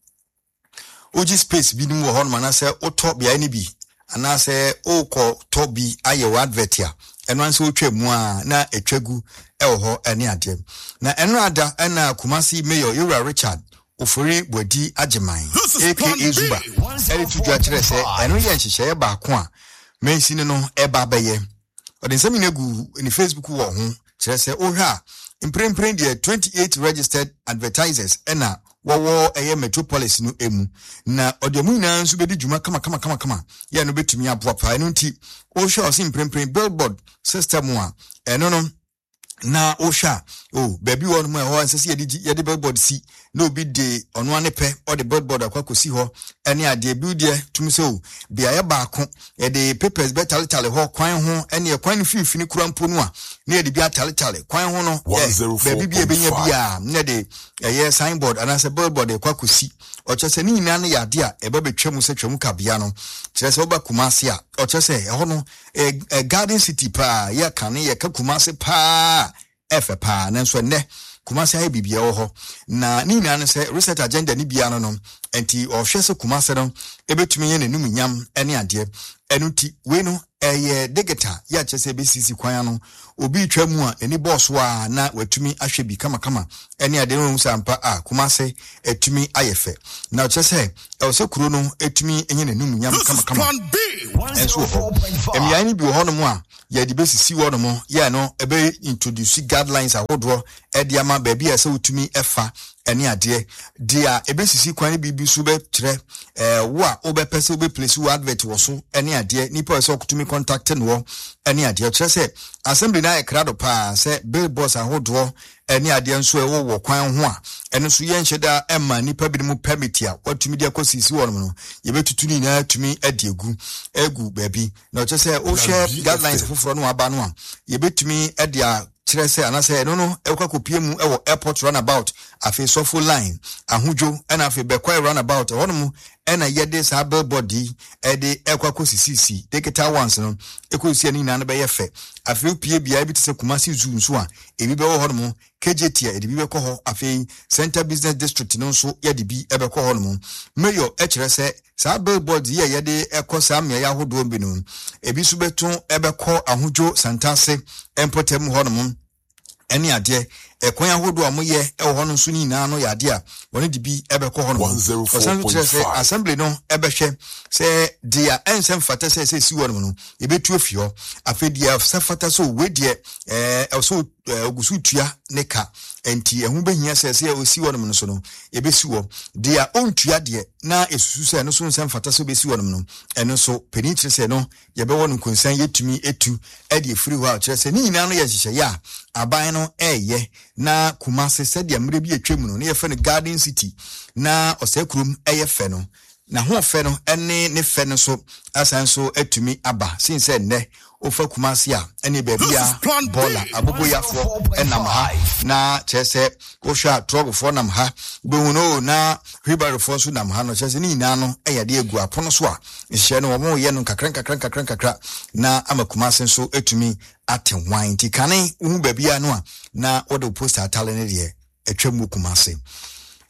wogye space bi no wɔ hɔnom anaasɛ wotɔ beaeɛ no bi anaasɛ wokɔ tɔ bi ayɛ wɔ advert a, ɛno ara sɛ wotwa mu a na atwa gu ɛwɔ hɔ ɛne adeɛ. Na ɛno ada ɛna Kumasi Mayor Yewura Richard Ofori Boadi Agyeman, A K A Zuba, ɛde to dwa kyerɛ sɛ ɛno yɛ nhyehyɛeɛ baako a mansini no ɛba bɛyɛ. Ɔde nsɛm nyina gu ne Facebook wɔ ho kyerɛ sɛ wohwɛ a, mprempren deɛ, twenty-eight registered advertisers ɛna wɔwɔ ɛyɛ metropolis no emu, na ɔde ɔmo nyinaa nso bɛdi dwuma kama kama kama kama yɛ no bɛtumi aboa paa. Ɛno nti wohwɛ, ɔse mprempren billboard system a ɛno no na wohwɛ a, o baabi wɔ nom a ɛhɔ ɛnsɛ sɛ yɛde yɛde billboard si na obi de ɔno ane pɛ ɔde billboard akɔ akɔsi hɔ ɛne adeɛ bi. Deɛ tum sɛ o beaeɛ baako yɛde papers bɛtaletale hɔ kwan ho, ɛne ɛkwan no mfimfini kura mpo no a na yɛde bi ataletale kwan ho no ɛ baabi bi a ɛbɛnya bi a na yɛde ɛyɛ signboard anaasɛ billboard ɛkɔ akɔsi. Ɔkyerɛ sɛ ne nyinaa no yɛ adeɛ a ɛbɛ bɛtwa mu sɛ twam kabea no. Kyerɛ sɛ woba Kumase a, ɔkyerɛ sɛ ɛhɔ no ɛ garden city paa. Yɛka ne yɛka Kumase paa, ɛfɛ paa, nanso ɛnnɛ Kumase ayɛ biribi ɛwɔ hɔ na ne nyinaa no sɛ reset agenda ne bia no no nti ɔhwɛ sɛ Kumase no ɛbɛtumi yɛ n'anum nyam ne adeɛ. Ɛno nti wei no ɛyɛ digital yɛ akyerɛ sɛ ɛbɛsisi kwan ano, obi twa mu a n'ani bɔɔ so a na watumi ahwɛ bi kamakama ɛne adeɛ no sɛ ampa a Kumase ɛtumi ayɛ fɛ. Na ɔkyerɛ sɛ ɛwɔ sɛ kuro no ɛtumi nyɛ n'anum nyam kamakama. Ɛnso wɔ hɔ, mmeaeɛ no bi wɔ hɔnom a yɛde bɛsisi hɔnom yɛ no ɛbɛ introduce guidelines ahodoɔ ɛde ama baabi a ɛsɛ wotumi ɛfa ɛne adeɛ. Deɛ a ɛbɛsisi kwan no biribi so bɛkyerɛ ɛɛ wo a wobɛpɛ sɛ wobɛplace wo advert wɔ so ɛne adeɛ, nipa a ɛsɛ ɔkotumi contact no wɔ ɛne adeɛ. Ɔkyerɛ sɛ assembly no ayɛ krado paa sɛ billboards ahodoɔ ɛne adeɛ nso ɛwɔ wɔ kwan ho a ɛno nso yɛnhyɛ da ɛma nipa binom permit a watumi de akɔ sisi wɔn no, yɛbɛtutu ne nyinaa tumi ɛde egu egu baabi. Na ɔkyerɛ sɛ wohwɛ guidelines foforɔ no aba no a, yɛbɛtumi ɛde a kyerɛ sɛ anaasɛ ɛno no ɛkɔ akɔpie mu ɛwɔ Airport roundabout, afei Sɔfo Line, Ahodwo, ɛna afei Bɛkwae roundabout. Ɛhɔnom ɛna yɛde saa billboard yi ɛde ɛkɔ akɔsisisi digital ones no ɛkɔsi. Ɛno nyinaa no bɛyɛ fɛ. Afei wopie beaeɛ bi te sɛ Kumasi Zoo nso a, ebi bɛwɔ hɔnom. K J T a, yɛde bi bɛkɔ hɔ. Afei Central Business District no nso, yɛde bi ɛbɛkɔ hɔnom. Mayor ɛkyerɛ sɛ saa billboard yi a yɛde ɛkɔ saa mmeaeɛ ahodoɔ bi no, ebi nso bɛto ɛbɛkɔ Ahodwo, Santase mpɔtam hɔnom ɛne adeɛ. Ɛkwan ahodoɔ a wɔyɛ ɛwɔ hɔ no nso nyinaa no yɛ adeɛ a wɔne de bi ɛbɛkɔ hɔ nom. Ɔsan so kyerɛ sɛ assembly no ɛbɛhwɛ sɛ deɛ ɛnsɛ mfata sɛ ɛsɛ esi hɔ nom no, yɛbɛtu afi hɔ. Afei deɛ sɛ fata sɛ owe deɛ ɛɛ ɛwɔ ogu so tua ne ka, nti ɛho bɛhia sɛ sɛ osi hɔ nom no so no, yɛbɛsi hɔ. Deɛ ɔntua deɛ na esusu sɛ ɛno so nsɛ mfata sɛ obɛsi hɔ nom no, ɛno nso panin kyerɛ sɛ no yɛbɛwɔ no nkonsan, yɛtumi etu ɛde efiri hɔ a kyerɛ sɛ ne nyinaa no yɛ nhyehyɛeɛ a aban no ɛɛyɛ na Kumase, sɛdeɛ mmerɛ bi atwa mu no ne yɛfrɛ no Garden City na ɔsɛ kurom ɛyɛ fɛ no, n'ahoɔfɛ no ɛne ne fɛ no so asan so atumi aba sin sɛ nnɛ wofa Kumase a, ɛne baabi a bɔɔla aboboyafoɔ ɛnam ha, na kyerɛ sɛ wohwɛ a, trɔgofoɔ nam ha, wobɛhu no na wheelbarrowfoɔ nso nam ha no. Kyerɛ sɛ ne nyinaa no ɛyɛ adeɛ agu apono so a nhyehyɛ no wɔn yɛ no nkakra nkakra nkakra nkakra na ama Kumase nso atumi ate hwan. Nti kane wohu baabi a no a na wɔde wo poster atale no deɛ atwa mu Kumase.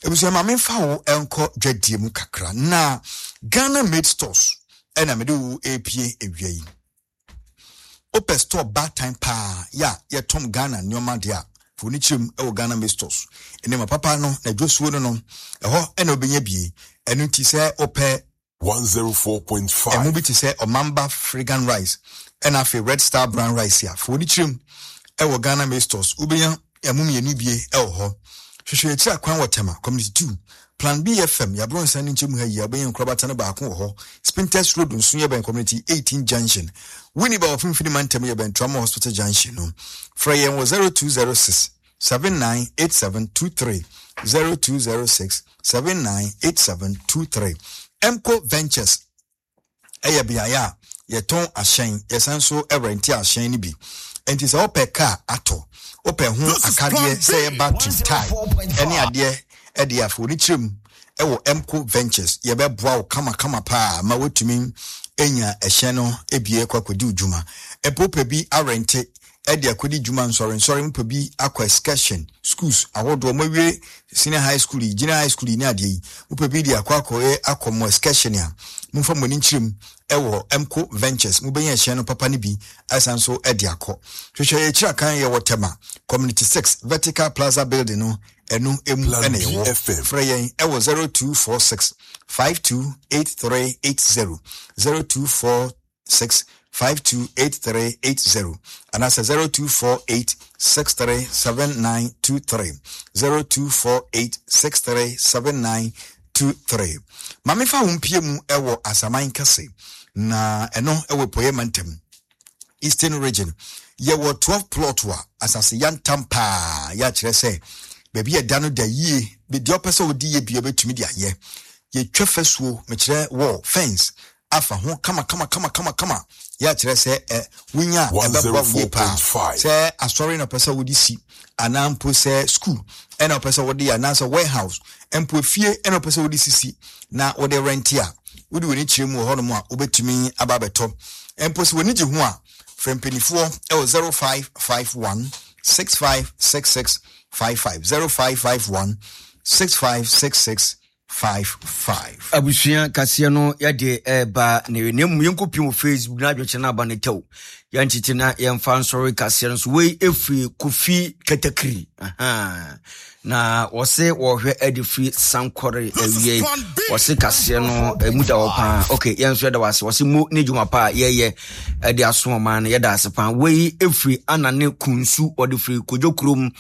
Ebusua, ma memfa wo nkɔ dwadie mu kakra na Ghana Made Stores ɛna mede wo epie ewia yi. Wopɛ store baatan paa yɛ a yɛtɔn Ghana nneɛma deɛ a, fo ne kyerɛ mu ɛwɔ Ghana Made Stores. Nneɛma papa no na dwosuo no no ɛhɔ ɛna wobɛnya bie. Ɛno nti sɛ wopɛ one oh four point five. Ɛmo bi te sɛ Ɔmamba Fragrant Rice ɛna afei Red Star Brown Rice a, fo ne kyerɛ mu ɛwɔ Ghana Made Stores, wobɛnya ɛmo mmienu bie ɛwɔ hɔ. Hwehwɛ akyiri akwan wɔ Tema Community two, Plan B F M yɛaborɔ nsan no nkyɛn mu ha yi a, wobɛnya nkorabata no baako wɔ hɔ. Spintex Road nso, yɛbɛn Community eighteen junction. Winneba wɔ Mfimfini Mantam, yɛbɛn Tramo Hospital junction no. Frɛ yɛn wɔ zero two zero six seven nine eight seven two three, zero two zero six seven nine eight seven two three. Mco Ventures ɛyɛ beaeɛ a yɛtɔn ahyɛn, yɛsan so ɛrent ahyɛn no bi. Nti sɛ wopɛ kaa atɔ, wopɛ ho akadeɛ sɛ yɛ battery, tyre ɛne adeɛ, ɛde afɔ ne kyerɛ mu Ɛwɔ Mco Ventures, yɛbɛboa wo kamakama paa ma wotumi anya ɛhyɛn no ebie kɔ akɔdi wo dwuma. Mpo pɛ bi arente ɛde akɔdi dwuma, nsɔrensɔre, mpɛ bi akɔ excursion, schools ahodoɔ, mo awie senior high school yi, junior high school yi ne adeɛ yi, mopɛ bi de akɔ akɔyɛ akɔ mo excursion a, momfa mo ani nkyerɛ mu ɛwɔ Mco Ventures. Mobɛnya ɛhyɛn no papa no bi asan so ɛde akɔ. Hwehwɛ yɛ akyiri akan, yɛwɔ Tema Community six, Vertical Plaza building no, ɛno emu Plan ɛna yɛwɔ. B F M. Frɛ yɛn ɛwɔ zero two four six five two eight three eight zero, zero two four six five two eight three eight zero, anaasɛ zero two four eight six three seven nine two three, zero two four eight six three seven nine two three. Maame, fa wo mpie mu ɛwɔ Asaman Kɛse na ɛno ɛwɔ Poyɛ mantam, Eastern Region. Yɛwɔ twelve plot a asase yantam paa, yɛakyerɛ sɛ baabi a ɛda no da yie. Deɛ ɔpɛ sɛ wodi yɛ bia bɛtumi de ayɛ. Yɛtwa fasuo, mekyerɛ wall fence afa ho kama kama kama kama kama. Yɛakyerɛ sɛ ɛ wonya a ɛbɛboa wo yie paa. one oh four point five. Sɛ asɔre na ɔpɛ sɛ wode si, anaa mpo sɛ school ɛna ɔpɛ sɛ wode yɛ, anaasɛ warehouse, mpo fie ɛna ɔpɛ sɛ wode sisi na wode rente a, wode w'ani kyerɛ mu wɔ hɔnom a, wobɛtumi aba abɛtɔ. Mpo sɛ w'ani gye ho a, frɛ mpanimfoɔ ɛwɔ zero five five one six five six six five five, zero five five one six five six six five five. Abusua, kaseɛ no yɛde ɛba ne na mmom yɛnkɔpiem wɔ Facebook na adwenkyerɛ no aba no tɛw, yɛnkyekye na yɛmfa nsɔre kaseɛ no so. Wei ɛfiri Kofi Katakiri. Aha. Na wɔse wɔhwɛ ade firi Sankɔre awie. Wɔse kaseɛ no ɛmu da hɔ paa. Ok, yɛn nso yɛda wɔ ase. Wɔse mo ne dwuma pa a yɛyɛ ɛde aso ɔman no, yɛda ase paa. Wei ɛfiri Anane Kunsu, wɔde firi Kodwo kurom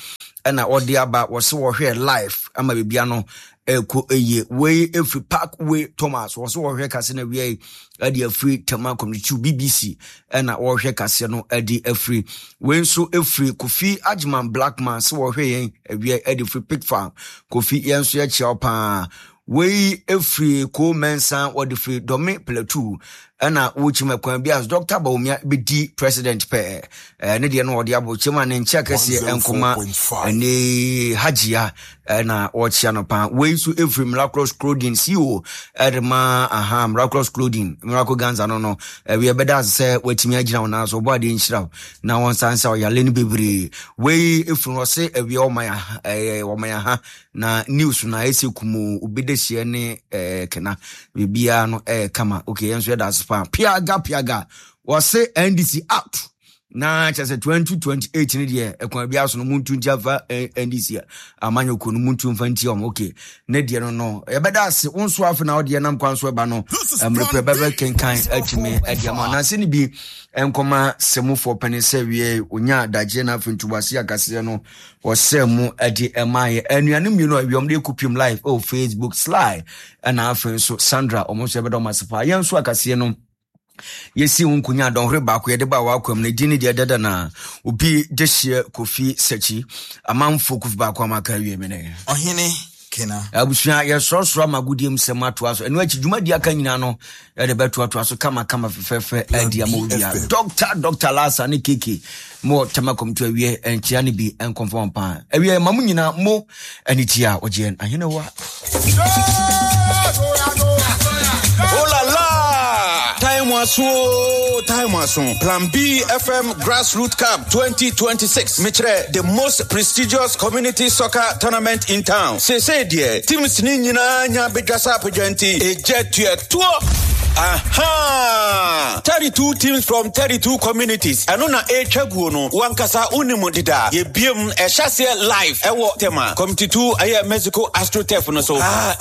ɛna wɔde aba. Wɔse wɔhwɛ live ama biribia no ɛkɔ ɛyie. Wei ɛfiri Parkway Thomas, wɔse wɔhwɛ kase no awia yi ɛde afiri Tema Community B B C ɛna wɔhwɛ kaseɛ no ɛde afiri. Wei nso ɛfiri Kofi Agyeman Blackman, sɛ wɔhwɛ yɛn awia ɛde firi Pig Farm. Kofi, yɛn nso yɛkyia wo paa. Wei ɛfiri Ko Mɛnsa, wɔde firi Dɔme Plateau, ɛna wɔkyim ɛkwan bi as Doctor Bawumia bɛdi president pɛɛ. ɛɛ ne deɛ no wɔde abɔ kyɛm a ne nkyɛn kɛseɛ nkɔma one oh four point five. Ɛne Hagyia ɛna wɔkyia no paa. Wei nso ɛfiri Miraculous Clothing C E O ɛde ma aha Miraculous Clothing, Miracle Ganza no no ɛwi ɛbɛda ase sɛ watumi agyina wo nan so. Ɔbɔ adeɛ nhyira wo na wɔn nsa nsa ɔyale no bebree. Wei ɛfiri hɔ sɛ awia ɔman aha, ɛɛ ɔman aha na news na ɛsɛ kumu obi de hyia ne ɛɛ kena biribiara no ɛyɛ kama. Okay, yɛn nso yɛda ase paa. Piaga piaga, wɔse N D C out na kyerɛ sɛ twenty twenty-eight no deɛ, ɛkwan bi aso no muntu nti afa eh, N D C amanyɔkuo no muntu mfa nti ɔmo. Okay, ne deɛ no no yɛbɛda ase. Wo nso afe na wodeɛ nam kwan so ɛba no, mmerɛ pɛ bɛbɛ kenkan atumi adi ama nanse ne bi nkɔma sɛmufoɔ pɛne sɛ wie onya adagyeɛ no afei ntoboase akaseɛ no wɔsɛ mu de ɛmaayɛ anuanom mmienu a awiam de kɔpiem live ɛwɔ Facebook, Sly ɛna afei nso Sandra, ɔmo nso yɛbɛda ɔmo ase paa. Yɛn nso akaseɛ no yɛsi ho nkonya dɔnhwere baako yɛde ba wakwam no din ne deɛ dada na obi de hyeɛ Kofi Sakyi amanfo Kofi baako amaka awie me ne Ɔhene Kena. Abusua, yɛsorɔsorɔ ama agodie mu sɛm atoa so. Ɛno akyi dwumadi aka nyinaa no yɛde bɛtoatoa so kamakama fɛfɛɛfɛ adi ama obia. Doctor Doctor Lasa ne Keke mo Tɛma kɔmto awie nkyea no bi nkɔmfɔ paa. Awie ma mo nyinaa mo anigye a ɔgyeɛ ahenewa. Oh la la! Time aso, time aso. Plan B F M Grassroots Cup twenty twenty-six. Mekyerɛ the most prestigious community soccer tournament in town. Sese deɛ, teams ni nyinaa nya bedwasa apagya nti, egya tua toɔ. Aha! thirty-two teams from thirty-two communities. Ɛno na ɛretwa guo no. Wankasa wonim deda. Yɛbiem ɛhyɛ aseɛ live ɛwɔ Tema. Community two ɛyɛ Mexico AstroTurf no so. Ah,